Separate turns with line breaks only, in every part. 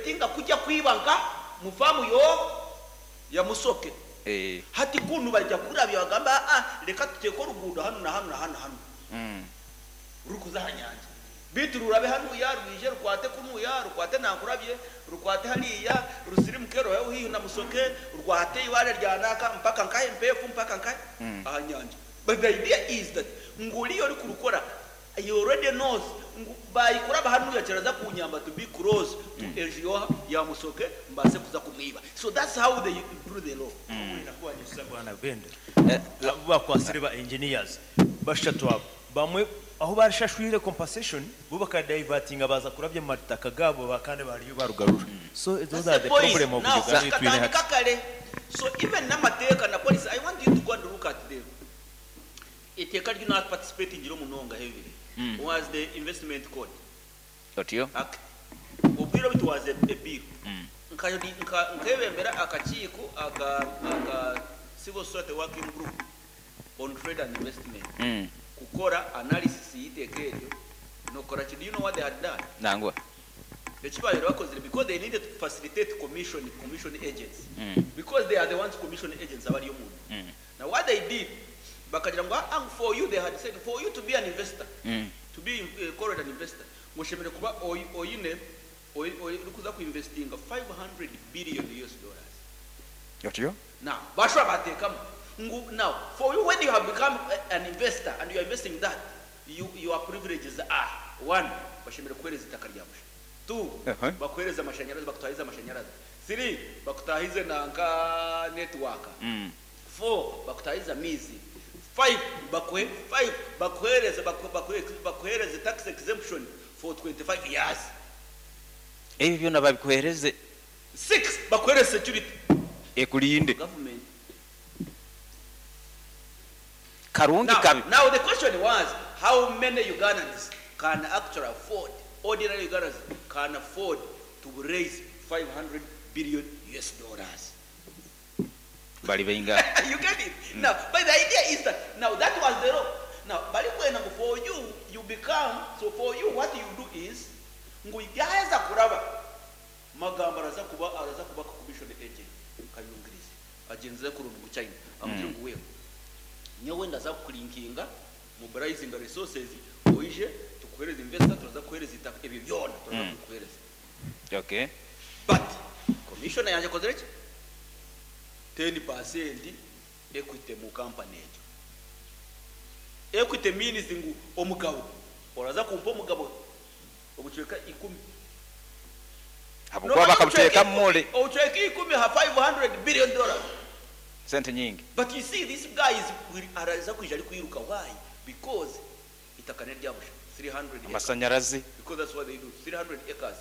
infiltratinga kujya kwiba nka mu faamu yo ya Musoke.
Eh.
Hati kunu baija kurabya bagambe aa reka tuteeke oruguudo hanu na hanu na hanu na hanu rurikuza aha nyanja beitu rurabe hanuya rwije rukwate kunuya rukwate Nankurabye rukwate hariya rusirimuke ruheho haihi na Musoke rwate eibaare rya naaka mpaka nkahe Mpeefu mpaka nkahe aha nyanja. But the idea is that ngu oriya orikurukora he already knows ngu baayikuraba hanuya kiraza kunyamba to be close to enju yoha ya Musoke mbaase kuza kumwiba. So that's how they do the law.
Bwana Benda, abu bakwasire ba engineers bashatu abo bamwe ahu barashashwire compensation bo bakadivertinga baza kurabya mu mataka gabo ba- kandi bariyo barugarura. So those
That's
are
the
the
point.
problem of
Now,
Uganda ei twine
katandika
hati.
kare. So even n'amateeka na policy, I want you to go and look at them. Eiteeka ryu naparticipatingire munonga heavily was the Investment Code
Otyo?
Act. Obwire obu it was a bill. Nkebembera akakiiko aka Civil Society Working Group on Trade and Investment kukora analysis y'eiteeka eryo n'okukora ki. Do you know what they had done?
Nangwa.
Eki baabaire bakozire because they needed to facilitate commission agents because they are the ones commission agents abari omunda. Now what they did, bakagira ngu ah, for you, they had said for you to be an investor, to be called an investor, ngu oshemereire kuba oine orikuza kuinvestinga 500 billion US dollars.
Otyo?
Now, bashobora bateekamu ngu now for you when you have become an investor and you are investing that, your privileges are one, bashemereire kukuhereza itaka rya busha. Two, bakuhereza amashanyarazi, bakutahize amashanyarazi. Three, bakutahize nanka network. Four, bakutahize amaizi. Five, five, bakuhereze tax exemption for 25 years.
Ebyo byona babikuhereze.
Six, bakuhereze security.
Ekulinde.
Government.
Karungi
Now,
kabi.
Now the question was, how many Ugandans can actually afford, ordinary Ugandans can afford to raise 500 billion US dollars?
Bali benga.
You get it? Now, but the idea is that, now that was the law. Now, bali kwenda ngu for you, you become, so for you what you do is, ngu yaheza kuraba, magambo araza kuba commission agent, kayungirize, agenze kurundu mu China, amugire ngu wewe, nyowe ndaza kukulinkinga, mobilizing resources, oije, tukuhereza investor, turaza kuhereza itaka, ebyo byona, turaza kukuhereza. But, commissioner yanje akozire ki? 10% equity mu company egyo. Equity means ngu omugabo, oraza kumpa omugabo, obucweka 10.
Abo kuba bakabuteeka mu mole.
Obucweka 10 ha 500 billion dollars.
Sente nyingi.
But you see this guy is araza kwija ari kwiruka. Why? Because itaka ne ryabusha 300 acres.
Amashanyarazi.
Because that's what they do. 300 acres.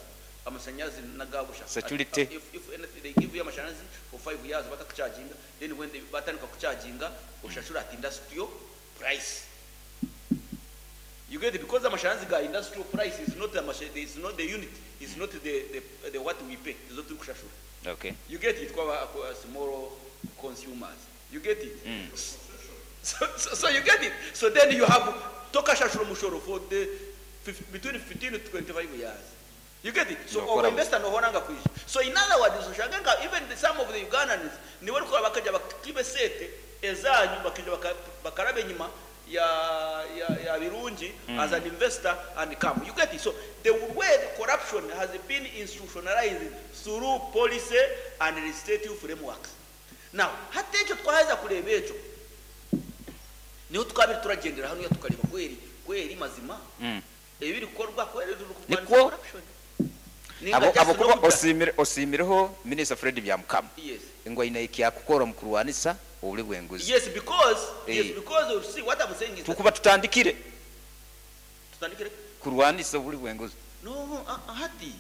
Amashanyarazi nagabusha.
Security.
And if anything they give you amashanyarazi for 5 years batakucharginga, then when they batandika kucharginga ushashura at industrial price. You get it? Because amashanyarazi ga industrial price is not the is not the unit, is not the what we pay. Is not kushashura. You get it? Kwa small consumers. You get it? So you get it? So then you have tokashashura mushoro for the between 15 to 25 years. You get it? So
No,
our
kora-
investor no horanga kuisha. So in other words, ushaganga even some of the Ugandans ni wari kwa bakaja bakibe sete ezanyu bakija bakarabe nyuma ya Birungi as an investor and come. You get it? So the way the corruption has been institutionalized through policy and legislative frameworks. Now, hata ekyo twaheza kureba ekyo niho twabiri turagendera hano tukareba kweri mazima. Ebiri kukorwa kweri turi kurwanya
Niko
corruption. Ninga
Abo
just
abo kuba
no
osimireho Minister Fred Byamukama.
Yes.
Ngo ina ikyakukora mu kurwanisa obuli bw'enguzi.
Yes, because, yes, because you see what I'm saying is that
Tukuba tutandikire.
Tutandikire?
Kurwanisa obuli bw'enguzi.
No, hati.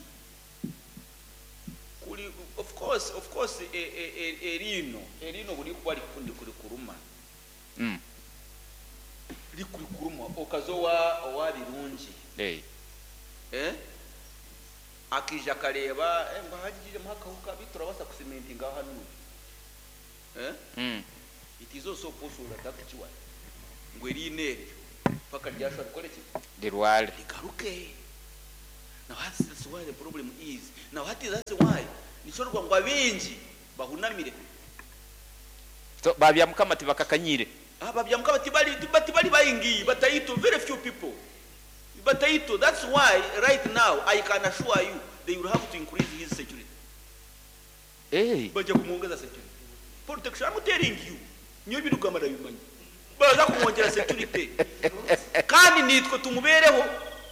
Kuli, of course, of course, erino buli kuba likundi kuli kuruma. Likuli kuruma okazowa owa Birungi. Akija kareba, ngo hagije muhakahuka biturabasa kusementinga hano. It is also possible that actually ngo eri neryo paka ryashobora gukora iki?
Lirwale.
Ligaruke. Now that's why the problem is. Now hati that's why nikyo orikugira ngu abaingi bahunamire.
So ba Byamukama tibakakanyire.
Ah, ba Byamukama tibari tibari baingi, bataito, very few people. Bataito, that's why right now I can assure you they will have to increase his security.
Eh.
Bajja kumwongeza security. Protection, I'm telling you. Nyowe ebindikugamba ndabimanya. Baraza kumwongyera security. Kandi naitwe tumubeereho,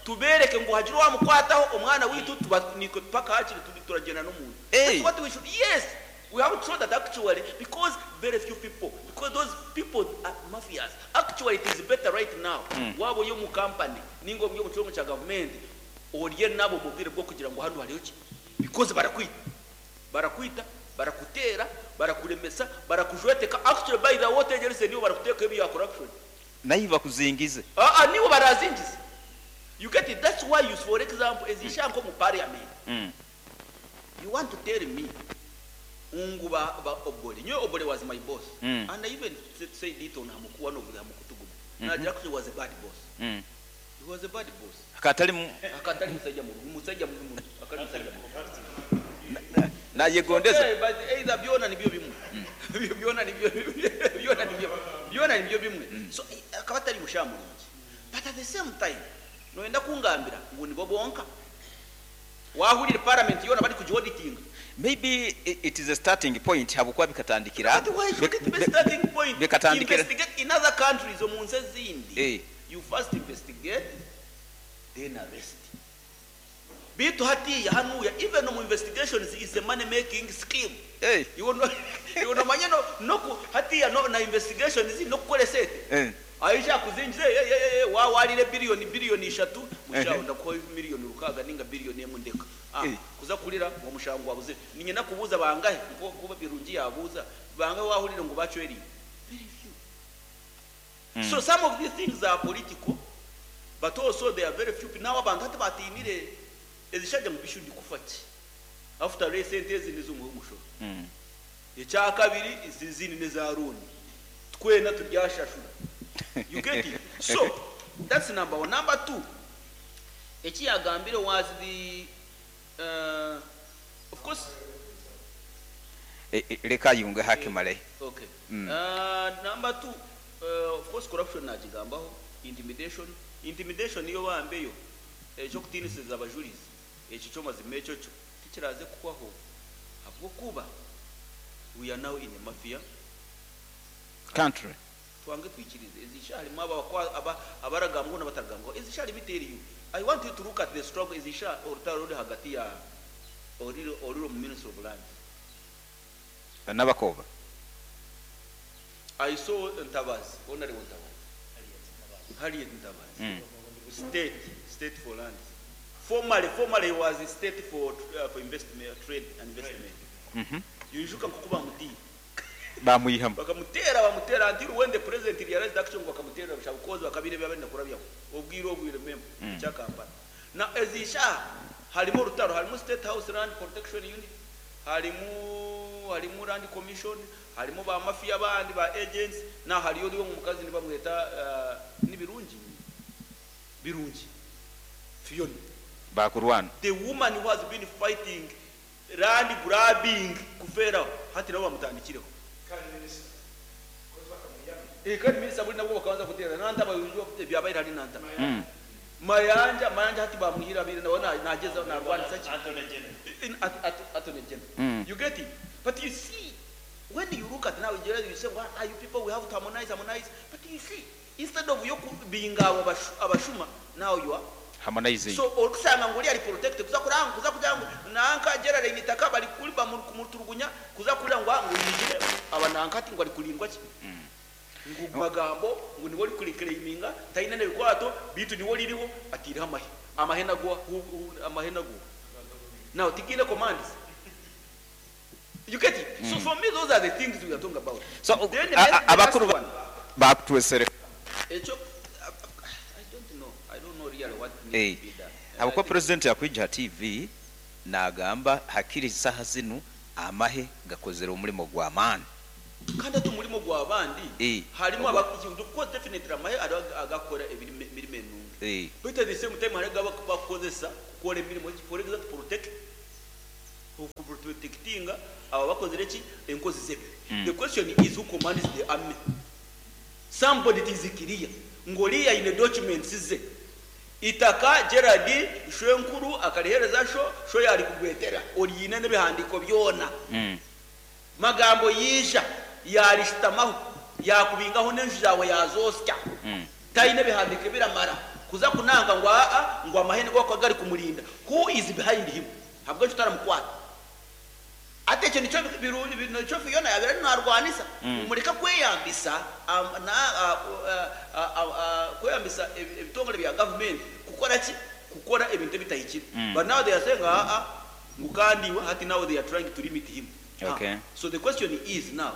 tubeereke ngu hagire owamukwataho, omwana waitu tuba naitwe paka hakiri turagyenda n'omuntu.
Hey.
That's what we should, yes, we have to show that actually, because very few people, because those people are mafias. Actually, it is better right now. Waaba ori omu company, ninga ori omu kitongore kya gavumenti, orye nabo omu bwire bw'okugira ngu hanu hariho ki? Because barakwita. Barakwita, barakuteera, barakuremesa, barakujweteka, actually by the way otegyereize niiwe barakuteekaho ebya corruption.
Naiwe bakuzingize.
Aa niiwe barazingize. You get it? That's why you for example ezi shaaha nk'omu parliament, you want to tell me ngu ba, ba Obore, nyowe Obore was my boss and I even said it on hamuku, one of the hamukutu gumwe, nagira actually he was a bad boss. He was a bad boss.
Akaba atari mu.
Akaba atari mushaija murungi, mushaija mubi muno. Akaba ari mushaija mubi.
Nayegondeza.
Okay, but either byona nibyo bimwe. Byona nibyo byona nibyo byona nibyo bimwe. So akaba atari mushaija murungi. But at the same time noyenda kungambira ngu nibo bonka. Wahurire parliament yona bari kugi auditinga.
Maybe it is a starting point habwokuba bikatandikira
But why should it be starting point?
Bikatandikira
Investigate in other countries omu nsi ezindi.
Eh.
You first investigate then arrest. Beitu hatiiya hanuuya even omu investigations is a money making scheme.
Eh.
Iwe no iwe nomanya no noku hatiiya no na investigations nokukora esente.
Eh.
Aija akuzingize eh, eh, eh, wa warire billion billion ishatu mushaho
Ehe.
ndakuha million rukaaga ninga billion emwe ndeka. Ah,
Eh.
kuza kurira ngu omushango gwabuzire. Niinyenda kubuuza bangahi nkoku Birungi yabuuza bangahi wahurire ngu bacweriire? Very few. So some of these things are political but also there are very few people. Now abantu hati batiinire ezishaija ngu bishu ndikufa ki? After all esente ezi nizo omuha omushoro. Ekyakabiri ezi ezindi neza loan. Twena turyashashura. You get it? So that's number one. Number two, eki yagambire was the uh, of course
Eh, eh, Leka ayunge hakimale.
Okay. Number two, of course corruption nagigambaho, intimidation, intimidation yo bambe yo eky'okutiinisiriza abajurizi ekyo kyo mazima ekyo kyo tikiraaze kuhwaho ahabw'okuba we are now in a mafia
Country.
Twange twikirize ezi shaaha harimu aba aba abaragambwaho n'abataragambwaho ezi shaaha limit eriyo. I want you to look at the struggle ezi shaaha orutaro oruri ahagati ya oriri oriri omu ministry of lands.
Nabakooba.
I saw Ntabazi, Honorable Ntabazi, Harriet Ntabazi, state, state for lands. Formerly, formerly he was state for, for investment, trade and investment. Yijuka nkoku bamutiire.
Bamwihamu.
Bakamuteera, bamuteera until when the president realized action ngu bakamuteerera busha because bakabaire ebi abaire nakurabyamu. Obwire obu you remember, ekya Kampala. Now ezi shaaha harimu orutaro, harimu State House Land Protection Unit, harimu harimu Land Commission, harimu ba mafia abandi ba agents, na hariyo oriyo omukazi nibamweta uh, ni Birungi? Birungi Fiona.
Bakurwana.
The woman who has been fighting land grabbing kufeeraho hati nabo bamutandikireho. Eh, kandi minisita buri nabwo bakabanza kuteera Nantaba ebyabaire ahari Nantaba. Mayanja, Mayanja hati bamwihire abaire nawe nagyezaho narwanisa ki? In at, at, Attorney General. You get it? But you see, when you look at now, you say, well, are you people, we have to harmonize, harmonize. But you see, instead of you being abo abashuma, now you are
Harmonizing.
So orikushanga ngu oriya ari protected kuza kuranga ngu kuza kugira ngu nanka Geraldine itaka bari kuri bamuturugunya kuza kurira ngu ngu yijire aba nanka ati ngu ari kurindwa ki ngu magambo ngu niwe ori kuriclaiminga tayine nebikwato bitu niwe oririho atireho amahe amahe nago amahe nago now tigiine commands you get it so for me those are the things we are talking about
So
then the last
abakuru
one
bakutwesere.
Ekyo I don't know I don't know really what needs
Eh,
to be done.
Habwokuba president yakwija ha TV nagamba hakiri saha zinu amahe gakozere omulimo gw'amaani.
Kandi ati omurimo gw'abandi
Eh,
harimu
ogwa
aba of course definitely amahe hariho agakora emirimo enungi.
Eh.
Baitu at the same time hariho agu abakukozesa kukora emirimo egi, for example to protect, okuprotectinga abo abakozire ki? Enkozi z'ebibi. The question is who commands the army? Somebody it is clear ngu oriya aine documents ze. Itaka Gerald shwenkuru akarihereza sho, sho yarikugwetera oriine n'ebihandiiko byona. Magambo yaija yaarishutamaho, yaakubingaho n'enju zaawe yaazoosya. Taine bihandiiko ebiramara kuza kunanka ngu aa ngu amahe nigo garikuba gari kumurinda. Who is behind him? Ahabw'enki otaramukwata? Hati ekyo nikyo nikyo Fiona yaabaire ariyo naarwanisa ngu mureke kweyambisa kweyambisa ebitongore bya gavumenti kukora ki? Kukora ebintu ebitahikire. But now they are saying aa ngu kandi iwe hati now they are trying to limit him.
Okay.
So the question is now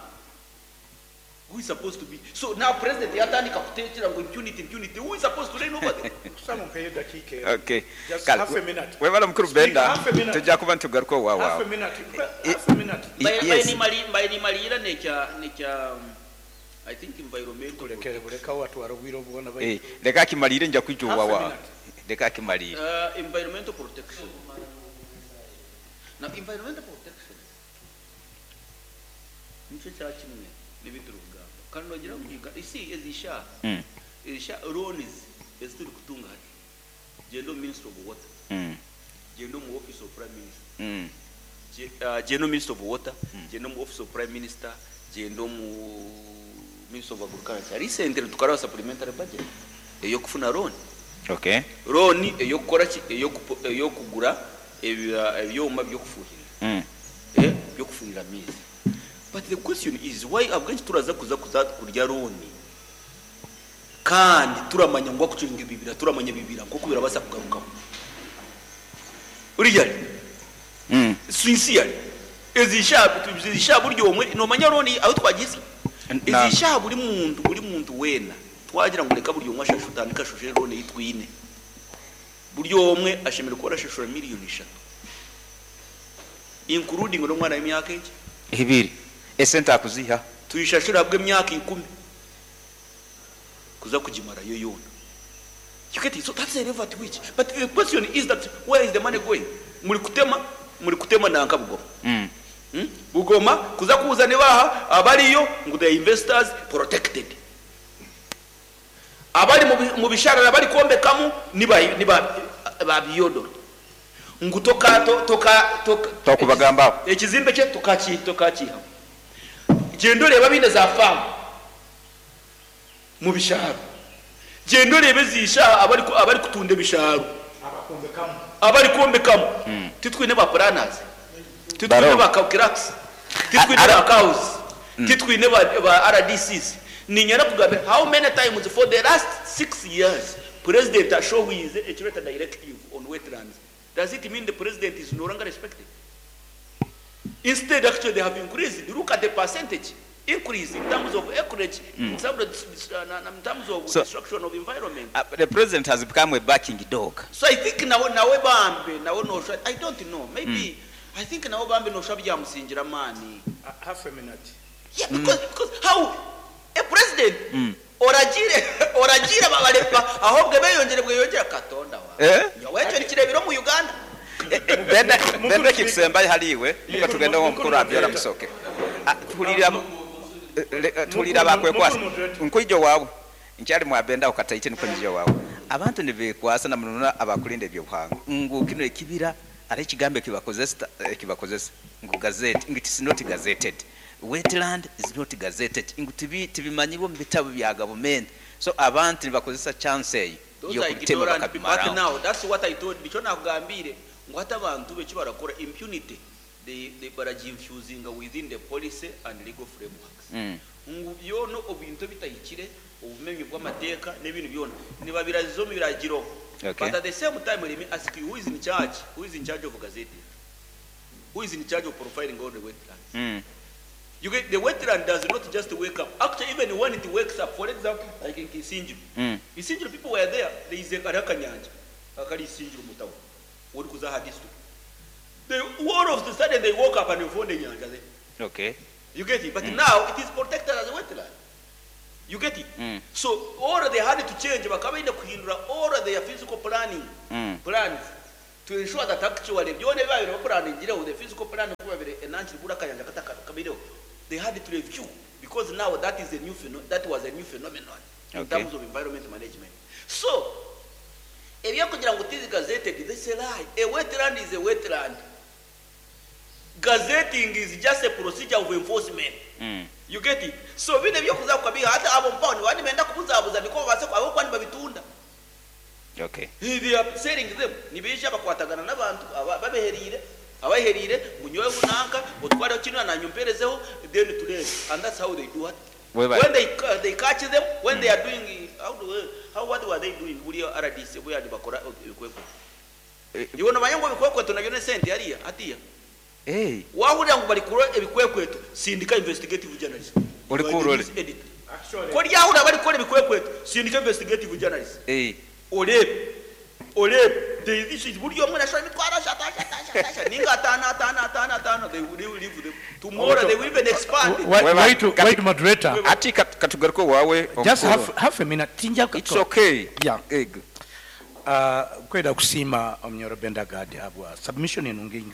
who is supposed to be so now president yatandika kutekyera ngu impunity impunity who is supposed to reign over them?
Kusaba ompeyo edakiika emwe.
Okay.
Just
Kale,
half a minute.
webale mukuru
Speaker,
Benda,
half a minute.
tujja kuba nitugaruka owa
Half a
waawe.
minute. Half a minute.
Yes.
Mbaire nimariira nekya nekya I think environmental
Kulekere
protection.
buleka watwara obwire obwona
Eh,
baitu.
leka akimariire nja kwija owa
Half a
waawe.
minute.
Leka akimariire.
Environmental protection. Now environmental protection nikyo kya kimwe n'ebi turikugamba. Kandi noogira ngu Uganda, you see ezi shaaha, ezi shaaha loans ezi turikutunga hati, gyenda omu ministry of water, gyenda omu office of prime minister, gyenda omu ministry of water, gyenda omu office of prime minister, gyenda omu ministry of agriculture. Recently tukaraba supplementary budget ey'okufuna loan.
Okay.
Loan ey'okukora ki? Ey'okugura ebyoma by'okufuhirira. Eh, by'okufuhirira amaizi. But the question is why ahabw'enki turaza kuza kuza kurya loan kandi turamanya ngu akucunga ebibira turamanya ebibira nk'oku birabaasa kugarukaho. Really? Sincerely. Ezi shaaha ezi shaaha buri omwe noomanya loan ahu twagihisya? Ezi shaaha buri muntu buri muntu weena twagira ngu reka buri omwe ashashure otandike ashashure loan ei twine. Buri omwe ashemereire kuba arashashura miriyoni ishatu including n'omwana w'emyaka egi.
Ebiri. Esente akuziiha.
Tuyishashure ahabw'emyaka ikumi kuza kugimarayo yoona. You get it? So that's the level at which. But the question is that where is the money going? Muri kutema, muri kutema nanka Bugoma. Bugoma kuza kuza nibaha abariyo ngu the investors protected. Abari mu bisharara bari kwombekamu niba niba ba biyodoro. Ngu toka to, toka toka
Tokubagambaho.
Ekizimbe kye tokaki tokakihamu. Gyenda oreebe abaine za faamu mu bishaaru. Gyenda oreebe ezi shaaha abarikutunda ebishaaru. Abarikwombekamu. Titwine ba planners, titwine
Bariho.
ba clerks, titwine ba cows, titwine ba RDCs. Niinyenda kugambira how many times for the last 6 years president ashohwize ekireta directive on wetlands. Does it mean the president is no longer respected? Instead, actually, they have increased. Look at the percentage increase in terms of acreage, in terms of destruction of environment.
The president has become a barking dog.
So I think nawe nawe bambe nawe nosha, I don't know, maybe I think nawe bambe nosha byamusingira mani.
Half a minute.
Yeah, because how a president oragire oragire babarepa ahobwe beyongere bweyongera katonda wa.
Eh?
Nyowe ekyo nikirebera omu Uganda.
Benda
Mukuru
Benda
Speaker.
kikusembayo haliiwe muka tugende
Mukuru
omukuru abyora
Moderator.
musoke. Ah, tuhulira tuhulira bakwekwasa.
Mukuru Moderator.
Nkwija wawe nkyali mwabenda ukataite niko njija wawe. Abantu nibekwasa na munona abakulinda ebyobuhangwa ngu kino ekibira ari ekigambo ekibakozesa ekibakozesa ngu gazette, ngu it is not gazetted, wetland is not gazetted, ngu tibimanyirwe omu bitabo bya gavumenti, so abantu nibakozesa chance eyo
Those are
yokubitema
ignorant people. But
bakabimaraho.
now that's what I told, nikyo nakugambire ngu hati abantu be ekibarakora impunity they baraginfusinga within the policy and legal frameworks. Ngu byona obintu ebitahikire obumenyi bw'amateeka n'ebintu byona nibabiraziza omu biragiro.
Okay.
But at the same time, let me ask you, who is in charge? Who is in charge of gazetting? Who is in charge of profiling all the wetlands? You get, the wetland does not just wake up. Actually, even when it wakes up, for example, like in Isingiro. Isingiro people were there. There is a akanyanja. Akari Isingiro mutawa. Ori kuza aha district. They, all of a sudden they woke up and they found the nyanja there.
Okay.
You get it? But now it is protected as a wetland. You get it? So all they had to change bakaba baine kuhindura all their physical planning plans to ensure that actually byona ebi babaire bapulaningire the physical plan ku babaire enankiri buri akayanja katakabaireho they had to review because now that is a new that was a new phenomenon in
Okay.
terms of environment management. So ebyokugira ngu tizi gazetted, this is a lie. A wetland is a wetland. Gazetting is just a procedure of enforcement. You get it? So bino ebyokuza kukabiha hati abo mpaho nibaba nibenda kubuzabuza niko babaase ahabw'okuba nibabitunda.
Okay.
They are selling them. Nibaija bakwatagana n'abantu aba- babeheriire abaheriire ngu nyowe nanka otwareho kinu nanye omperezeho then turebe and that's how they do it.
Webale.
When they catch them when they are doing how do how what were they doing buri RDC buriya nibakora ebikwekweto. Iwe nomanya ngu ebikwekweto nabyo n'esente hariya hatiya.
Hey.
Wahurira ngu barikora ebikwekweto sindika investigative journalist.
Ori
You are the
kurore.
news editor. Ko ryahurira barikora ebikwekweto sindika investigative journalist.
Hey.
Oreebe oreebe there is issues buri omwe nashora emitwaro ashatu ashatu ashatu ashatu ninga ataano ataano ataano ataano they will leave them tomorrow they will even expand it.
Wait,
Weba-
wait, wait, moderator.
Ati katugaruke wawe
Just
omukuru.
half a minute. Tinja
It's okay.
Yeah.
Ego.
Kwenda kusiima omunyoro Bendagadi habwa submission enungi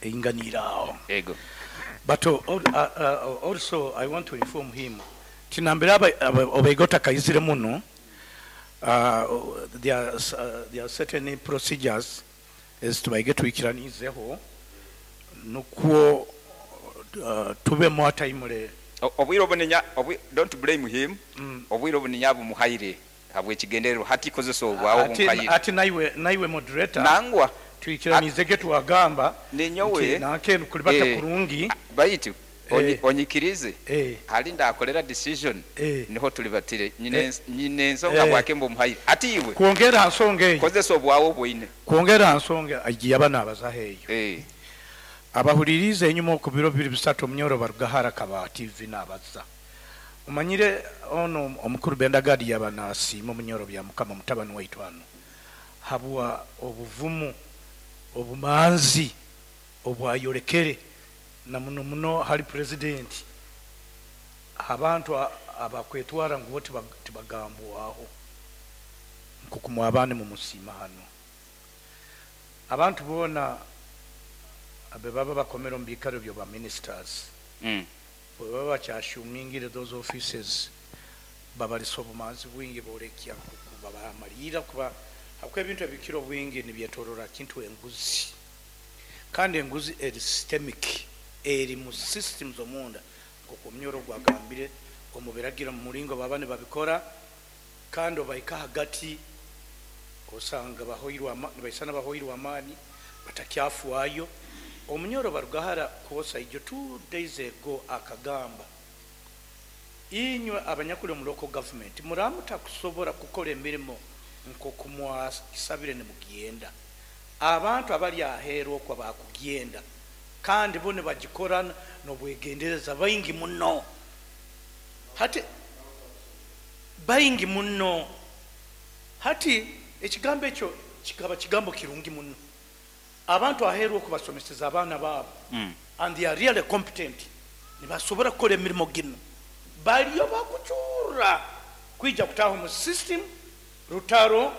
einganiire aho.
Ego.
But also I want to inform him tinambira obaigota kaizire muno there are certain procedures ezitubaige twikiranizeho nukwo tubemu ataimule.
Obwire obuninya don't blame him. Obwire obuninya bumuhaire habw'ekigendererwa hati kozesa obwawe bumuhaire.
Ati naiwe moderator
Nangwa
twikiranizege twagamba
ninyowe
nti nanke kulibata kurungi
baitu onyikirize hali ndakolera decision niho tulibatire nyine ensonga bwake mbumuhaire ati iwe
kwongera nsonga eyo
kozesa obwawe obwine
kwongera nsonga agiye abanabaza heyo abahulirize enyuma ku biro bibiri bisatu omunyoro barugahara akaba TV nabaza omanyire ono omukuru Bendagadi yaba nasiima omunyoro bya mukama mutabani waitu hano habwa obuvumu obumanzi obwayorekere na muno muno hali president abantu abakwetwara ngu bo tibagambwaho nkukumwabane mumusiima hano abantu boona abe baba bakomera omu biikaro byo ba ministers bwe baba bakyashumingire those offices babalisa obumanzi bwingi borekya nkuku babamalira kuba habwo ebintu ebikira obwingi nibyetorora kintu enguzi kandi enguzi eri systemic eri mu systems omunda nkuku omunyoro gwagambire omubiragira mu muringo baba nibabikora kandi obaika hagati osanga nibaisana bahoirwe amaani batakyafuayo. Omunyoro barugahara kwosa ijo 2 days ago akagamba inywe abanyakuli omu local government muramuta kusobora kukora emirimo nkoku mwasabire nimugenda abantu abali aheeru okwo bakugenda kandi bo nibagikora n'obwegendereza baingi muno hati baingi muno hati ekigambo ekyo kikaba kigambo kirungi muno abantu aheeru okubasomeseza abaana baabo and they are really competent nibasobora kukora emirimo gino baliyo bakucura kwija kutaho mu system rutaro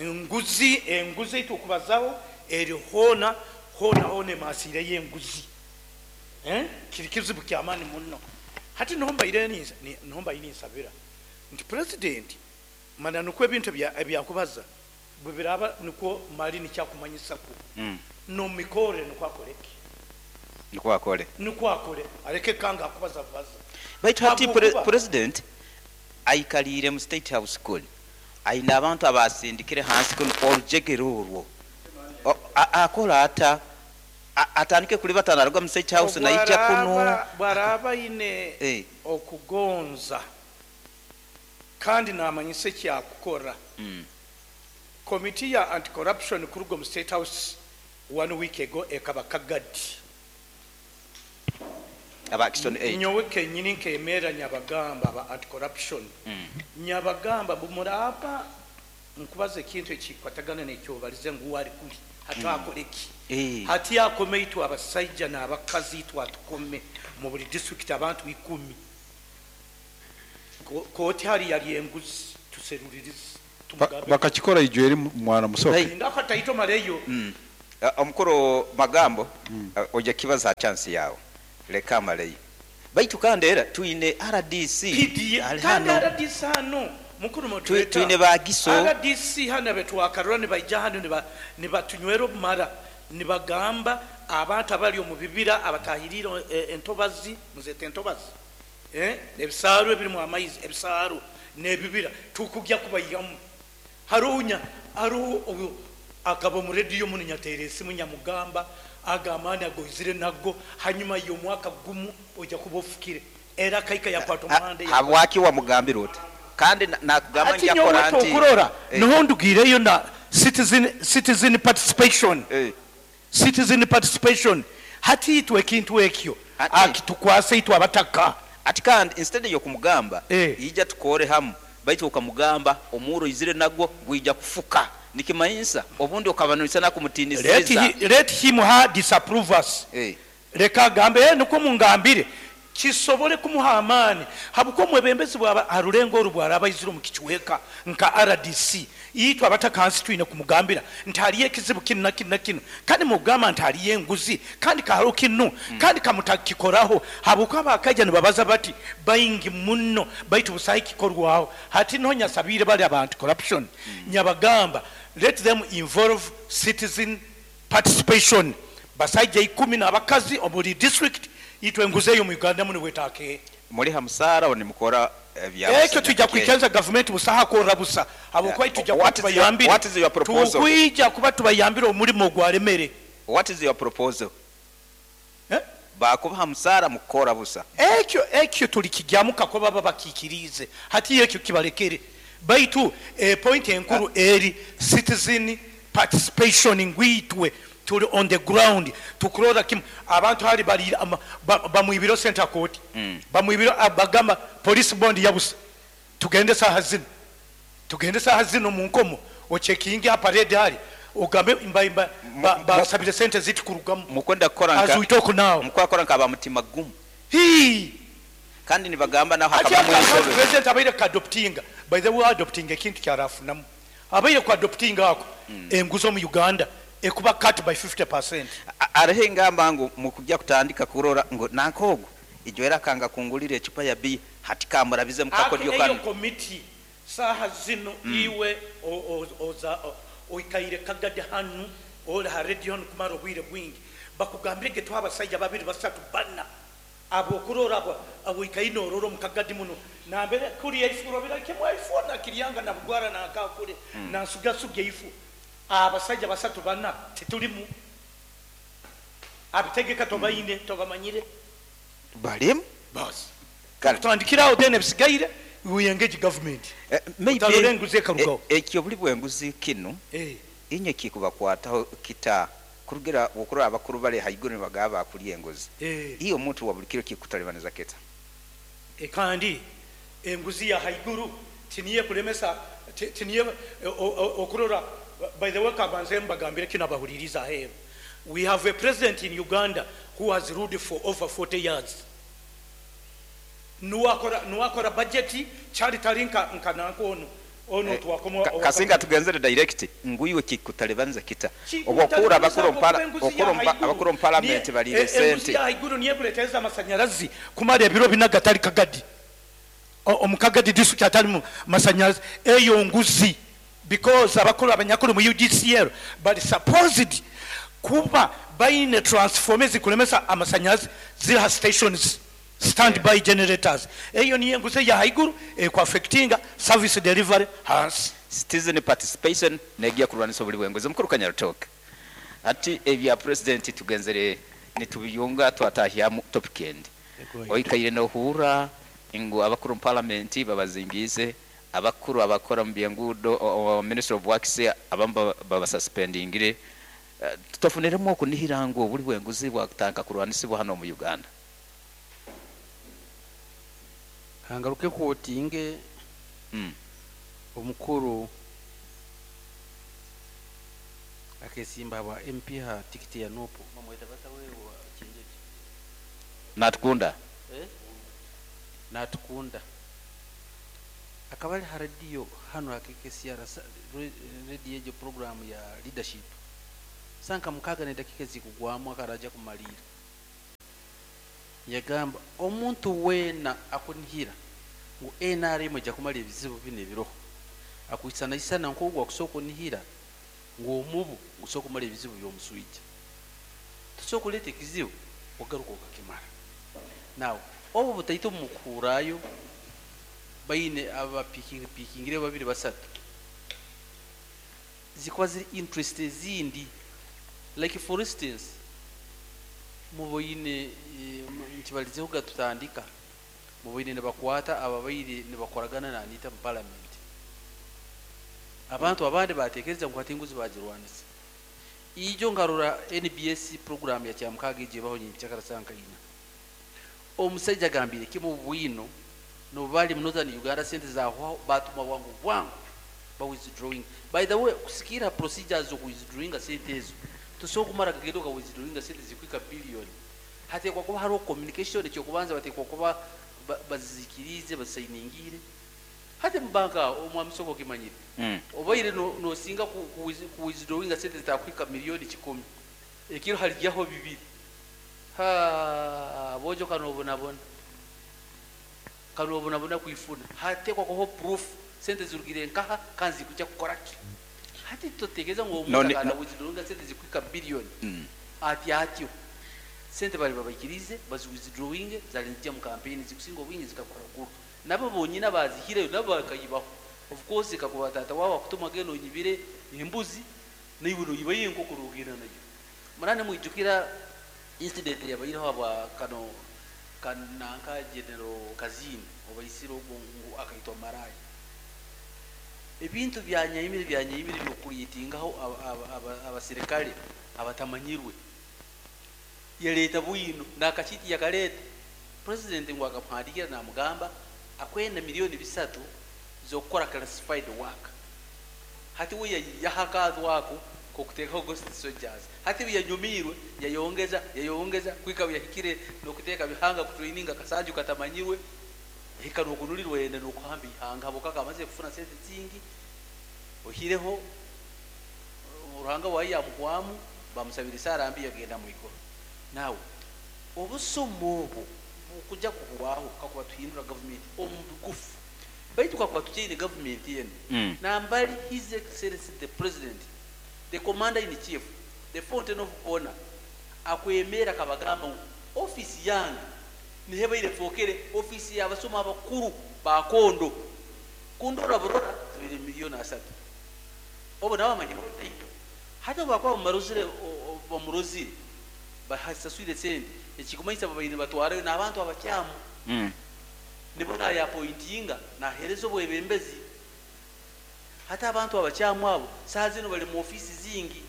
enguzi enguzi itukubazaho eri hona hona hona emasire y'enguzi kiri kizibu kyamaani muno hati nombaire nsabira nti president mana nukwo ebintu ebyakubaza bwe biraba nukwo mali nikyakumanyisako nomikore nukwo akoreke
nukwo akore
nukwo akore areke kanga akubaza baza
baitu hati president aikalire mu state house kuli aina abantu abasindikire hansi kuno olujegere orwo akola ata atandike kuli batanaruga mu state house naija kuno
bwaraba ine okugonza kandi namanyise kyakukora Committee ya anti-corruption kuruga mu state house 1 week ago ekaba kagadi
aba action aid
nyowe kenyini nkemera nyabagamba aba anti-corruption nyabagamba bumuraba nkubaza ekintu ekikwatagana n'ekyobalize ngu wali kuli hatakoreki hati yakome itwe abasajja n'abakazi itwe atukome mu buli district abantu 10 Kooti hari yari enguzi tuseruririze tumugambe.
Bakakikora ijo eri mwana musoke.
Hey.
Ndako taito maleyo.
Omukuru magambo, ojja kibaza chance yawe leka amaleyo baitu kandi era twine RDC
PD
ali
kandi
hano.
RDC hano mukuru moderator.
Twine bagiso.
RDC hano betwakarura nibaija hano nibatunywera obumara nibagamba abantu abali omu bibira abatahirire entobazi muzete entobazi, ebisaaru ebirimu amaizi ebisaaru n'ebibira tukujya kubayihamu. Harunya haru obu akaba mu radio muno nyatere esimu nyamugamba agamba agoizire nago hanyuma y'omwaka gumu ojja kuba ofukire era kaika yakwata omuhanda ya-
Habwaki wamugambira oti kandi nakugamba
Ati
nja
nyowe
kora nti
tokurora, niho ndugireyo na citizen participation. Citizen participation hati itwe ekintu ekyo akitukwase itwe abataka.
Ati kandi instead yokumugamba ija tukore hamu baitu ukamugamba omuro izire nagwo gwija kufuka nikimanyisa obundi okabanulisa nakumutinisiza.
Let him her disapprove us. Leka agambe, niko mungambire kisobole kumuha amaani habuko omwebembezi bwaba arulengo oru bwaraba aizire omu kichweka nka RDC itwe abatakansi twine kumugambira nti hariyo ekizibu kinu na kinu na kinu kandi mugamba nti hariyo enguzi kandi kaharo kinu kandi kamutakikoraho habuko abakaija nibabaza bati baingi muno baitu busahi kikorwaho hati niho nyasabire bali abantu corruption. Nyabagamba let them involve citizen participation basaija 10 n'abakazi omuri district itwe enguzi eyo mu Uganda muno bwetake
muri hamusara oni mukora ebya
ekyo tujja kwikiriza government busaha korra busa habwokuba tujja
What is your-
kubayambira.
what is your proposal?
Tukwija kuba tubayambira omulimo gwalemere.
What is your proposal? Bakuba hamusara mukora busa
ekyo tulikijyamuka ko baba bakikirize hati ekyo kibalekere baitu point enkuru eri citizen participation ngwitwe tuli on the ground tukurora kimu abantu hari bari bamwibiro center court. Bamwibiro bagamba police bond yabusa tugende saha zino tugende saha zino mu nkomo ochekingi ha parade hari ugambe imba imba basabire center ziti kurugamu
mukwenda kukora nka
As we talk now.
Mukwa nka ba mutima gumu.
Hi.
Kandi nibagamba naho
Ati
hakaba
aka
mu
president abaire ka adoptinga by the way adoptinga ekintu kyarafunamu abaire ku adoptinga ako. Enguzo mu Uganda ekuba cut by 50%.
Arehe ingamba ngu mukujya kutandika kurora ngo nankogo ijo era kanga kungulira echupa ya bi hati kamurabize mukakodyo
Ake
kanu.
eyo committee saha zino iwe oza oikaire kagade hanu ori ha radio hanu kumara obwire bwingi bakugambire ge twabasajja babiri basatu bana abo kurora abo abo ikaino ororo mukagadi muno nambere kuri ifuro bira kimwe ifu na kiryanga na bugwara na akakure na sugasuge ifu abasajja basatu bana titulimu abitegeka tobayine tobamanyire
balimu
basi
Kale.
Tutandikirawo then ebisigaire we engage government.
Maybe
Utalora enguzi ekarugaho.
Ekyo buli bwenguzi kino inye kikubakwataho kita kurugira okurora abakuru bali haiguru nibagaba bakuli enguzi. Iyo omuntu wa buli kiro kikutalibaniza kita.
Kandi enguzi ya haiguru tiniye kulemesa tiniye okurora by the way kabanze mbagambire kino abahuliriza heru. We have a president in Uganda who has ruled for over 40 years. Nuwakora budget chali talinka nkananko ono ono twakoma
Kasinga tugenzere direct nguyiwe kikutalibanza kita.
Kikutalibanza
Obwokura
kuba enguzi ya haiguru.
abakuru mu parliament balire
Enguzi
sente.
ya haiguru niye kuleteza amasanyarazi kumara ebiro bina gatali kagadi. Omukagadi district atali mu masanyarazi eyo nguzi because abakuru abanyakuru mu UGCL but supposed kuba baine transformers kulemesa amasanyarazi zira stations standby generators eyo niye nguzi ya haiguru ku affectinga service delivery hansi.
Citizen participation negiya kurwanisa buli bwenguzi mukuru Kanyarutoke ati ebya president tugenzere nitubiyunga twatahya topic end oikaire no hura ingu abakuru mu parliament babazingize abakuru abakora mu byengudo Minister of Works abamba babasuspendingire. Tutofuniremo okunihirango buli bwenguzi bwakutanka kurwanisibwa hano mu Uganda.
Hangaruke kuotinge omukuru akesimba wa MP ha tikiti ya nopo mamweta bata wewe wa chinjeje
Natukunda.
Natukunda. Akaba ari ha rediyo hanu ha KKCR, rediyo egyo puroguraamu ya Leadership. Saaha nka mukaaga n'edakiika ezikugwamu akaba kumariira. Yagamba omuntu weena akunihira ngu NRM ejja kumara ebizibu binu ebiroho akwisanaisana nk'ogu akusobola kunihira ngu omubu gusobola kumara ebizibu by'omuswija. Tosobola kuleeta ekizibu ogaruka okakimara. Now obu butaito mukuhurrayo baine abapiikingire babiri basatu zikuba ziri interest ezindi. Like for instance, muboine nkibalizeho gatutandika, muboine nibakwata ababaire nibakoragana na Anita mu parliament. Abantu abandi batekereza ngu hati enguzi bagirwanisa. Ijo nkarora NBS program ya Kyamukaaga egyo ebaho nyenkyakara saaha nka ina. Omusaija agambire kimu bwino nobu bali mu Northern Uganda sente zahwaho batuma bwangu bwangu ba withdrawing. By the way, kusikiira procedures zo withdrawinga sente ezo, tosobola kumara kagenda oka withdrawinga sente zikuhika billion. Hateekwa kuba hariho communication. Ekyokubanza bateekwa kuba bazikiriize, bazisainingire. Hati mu banka aho omwami Soko okimanyire, obaire nosinga ku withdrawinga sente zitakuhika 100,000,000 ekiro haligyaho bibiri. Ha bojo kanobonabona kanobonabona kwifuna. Hateekwa kubaho proof sente zirugire nkaha kandi zikujya kukora ki. Hati totekereza ngu omuntu akana withdrawinga sente zikuhika billion ati atyo sente bali babaikirize bazi withdrawinge zali nizijya mu campaign zikusinga obwingi zikakora guru nabo bonyine abazihireyo nabo bakayibaho. Of course kakuba tata wawe akutuma genda onyibire embuzi, naiwe noyibayo enkoko nogenda nayo. Murane mwijukira incident yabaireho aba kano kananka General Kazini obaisire ogwo ngu akaitwa maraya. Ebintu byanyayimire byanyayimire by'okucreatingaho abasirikale abatamanyirwe yaleeta bwino nakachiti yakaleta. President ngu akamuhandikira namugamba akwenda 3 miliyoni z'okukora classified work. Hati we yaha ako kokuteekaho ghost soldiers. Hati yanyumirwe yayongeza yayongeza kwika yahikire nokuteeka bihanga kutraininga kasanju katamanyirwe hika nokunulirwa yenda nokuhamba ihanga habwokuba amaze kufuna sente zingi. Ohireho Ruhanga wayi yamuhwamu bamusabira isaara mbi yagenda mwiguru. Nawe obusomo obwo bukujja kuhwaho kakuba tuhindura gavumenti omu bigufu, baitu kakuba tukyaine gavumenti eno nambali His Excellency the President, the Commander in Chief, the fountain of honor, akwemera akabagamba ngu ofisi yange nihebaire fokere ofisi y'abasoma abakuru bakondo kundora burora zibiri 3 miliyoni obo nabo bamanyire taito. Hati obu bakuba bamarozire bamurozire basaswire sente, ekikumanyisa babaire batwarayo n'abantu abakyamu nibo nayapointinga nahereza obwebembezi. Hati abantu abakyamu abo saaha zino bali mu ofisi zingi.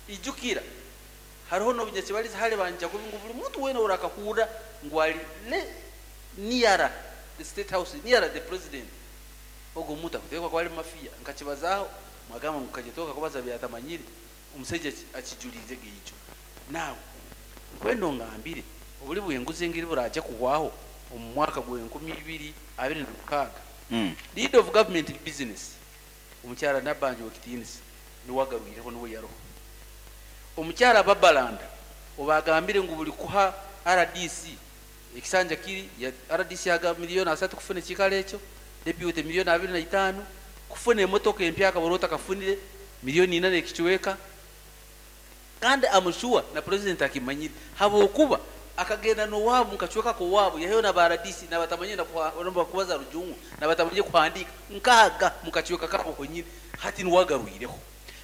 Ijukira hariho nobunyakibaliza hali banja kubi ngu buli muntu wena orakahurra ngu ali near the State House, near the president, ogwo omuntu akuteekwa kuba ali mafia. Nkakibazaho mwagamba ngu kajetoka kubaza byatamanyire omusajja akijulize geijo. Nawe nkwenda ongambire obuli bwenguzi engeri buraja kuhwaho omu mwaka gwa 2026. Leader of Government Business omukyala Nabbanja wekitiinisa niwe agarwireho, niwe yaroho. Omukyala Babalanda obagambire ngu buli kuha RDC ekisanja kiri ya RDC aga 30 miliyoni kufuna ekikalo ekyo, deputy 25 miliyoni kufuna emotoka empya akabura otakafunire 4 miliyoni nekicweka. Kandi amushuwa na president akimanyire habwokuba akagenda nowabu mukacweka kowabu yaheyo na ba RDC nabatamanye na kubaza rujungu nabatamanye kuhandika nkaga mukacweka kabo honyine. Hati niwagarwireho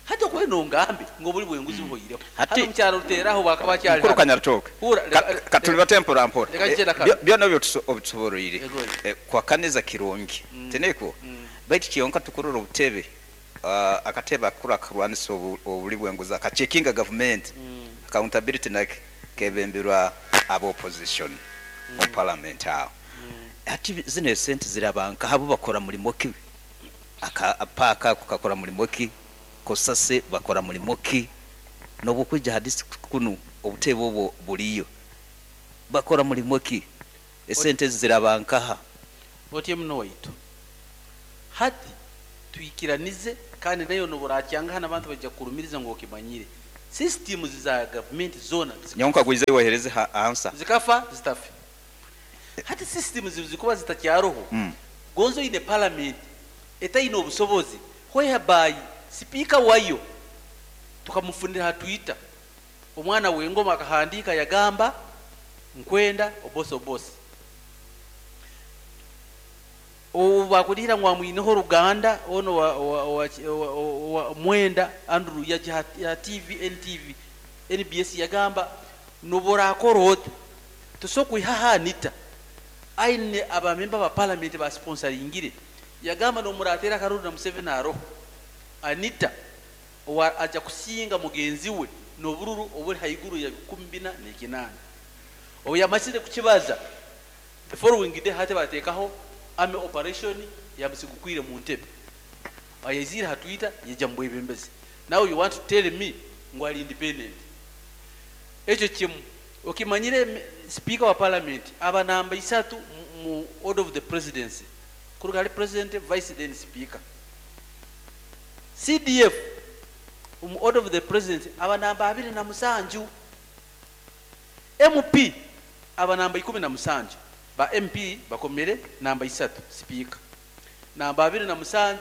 hati okwenda ongambe ngo buli bwenguzi buhoireho. Hano mukyalo ruteraho bakaba
Mukuru Kanyarutoke.
Hura,
Katuli batempora mpora.
Reka njye
Byona byo obitusoboroire.
Yego.
Kwakaniza kirungi teneko baitu kiyonka tukurora obutebe, akatebe akakuru akarwanisa obuli bwenguzi akachekinga government accountability nake kebemberwa aba opposition mu parliament aho. Ati zino esente zirabanka habo bakora mulimo ki? Aka paka kakora mulimo ki? Kosase bakora mulimo ki? Nobukwija hadisi kunu obutebe obwo buliyo bakora mulimo ki? Esente zirabankaha?
Otyo muno waitu. Hati twikiranize kandi nayo nobu orakyanga hanu abantu baija kukurumiriza ngu okimanyire. Systems za gavumenti zoona
Nyowe nkagwize ohereze ha answer.
Zikafa zitafe. Hati systems zikuba zitakyaroho, gonza oine parliament etaine obusobozi whereby sipiika wayo tukamufunira ha Twitter, omwana w'engoma akahandiika yagamba nkwenda obosi obosi. Obu bakurihira ngu amwineho oruganda onu owa Mwenda Andrew yaja ha TV NTV, NBS yagamba nobu orakora ota tosobola kwihaho Anita aine aba member ba parliament ba sponsoringire. Yagamba nobu murateera akaruru na Museveni aroho, Anita owa aja kusinga mugenzi we n'obururu oburi haiguru ya 48. Obu yamazire kukibaza, the following day hati bateekaho army operation yamusigukwire mu ntebe. Ayaizire ha Twitter yaija mu bwebembezi. Now you want to tell me ngu ari independent? Ekyo kimu. Okimanyire Speaker wa Parliament aba namba isatu mu order of the presidency. Kuruga ahari President, Vice then Speaker. CDF omu order of the presidency aba namba 27. MP aba namba 17. Ba MP bakomere namba isatu Speaker. Namba 27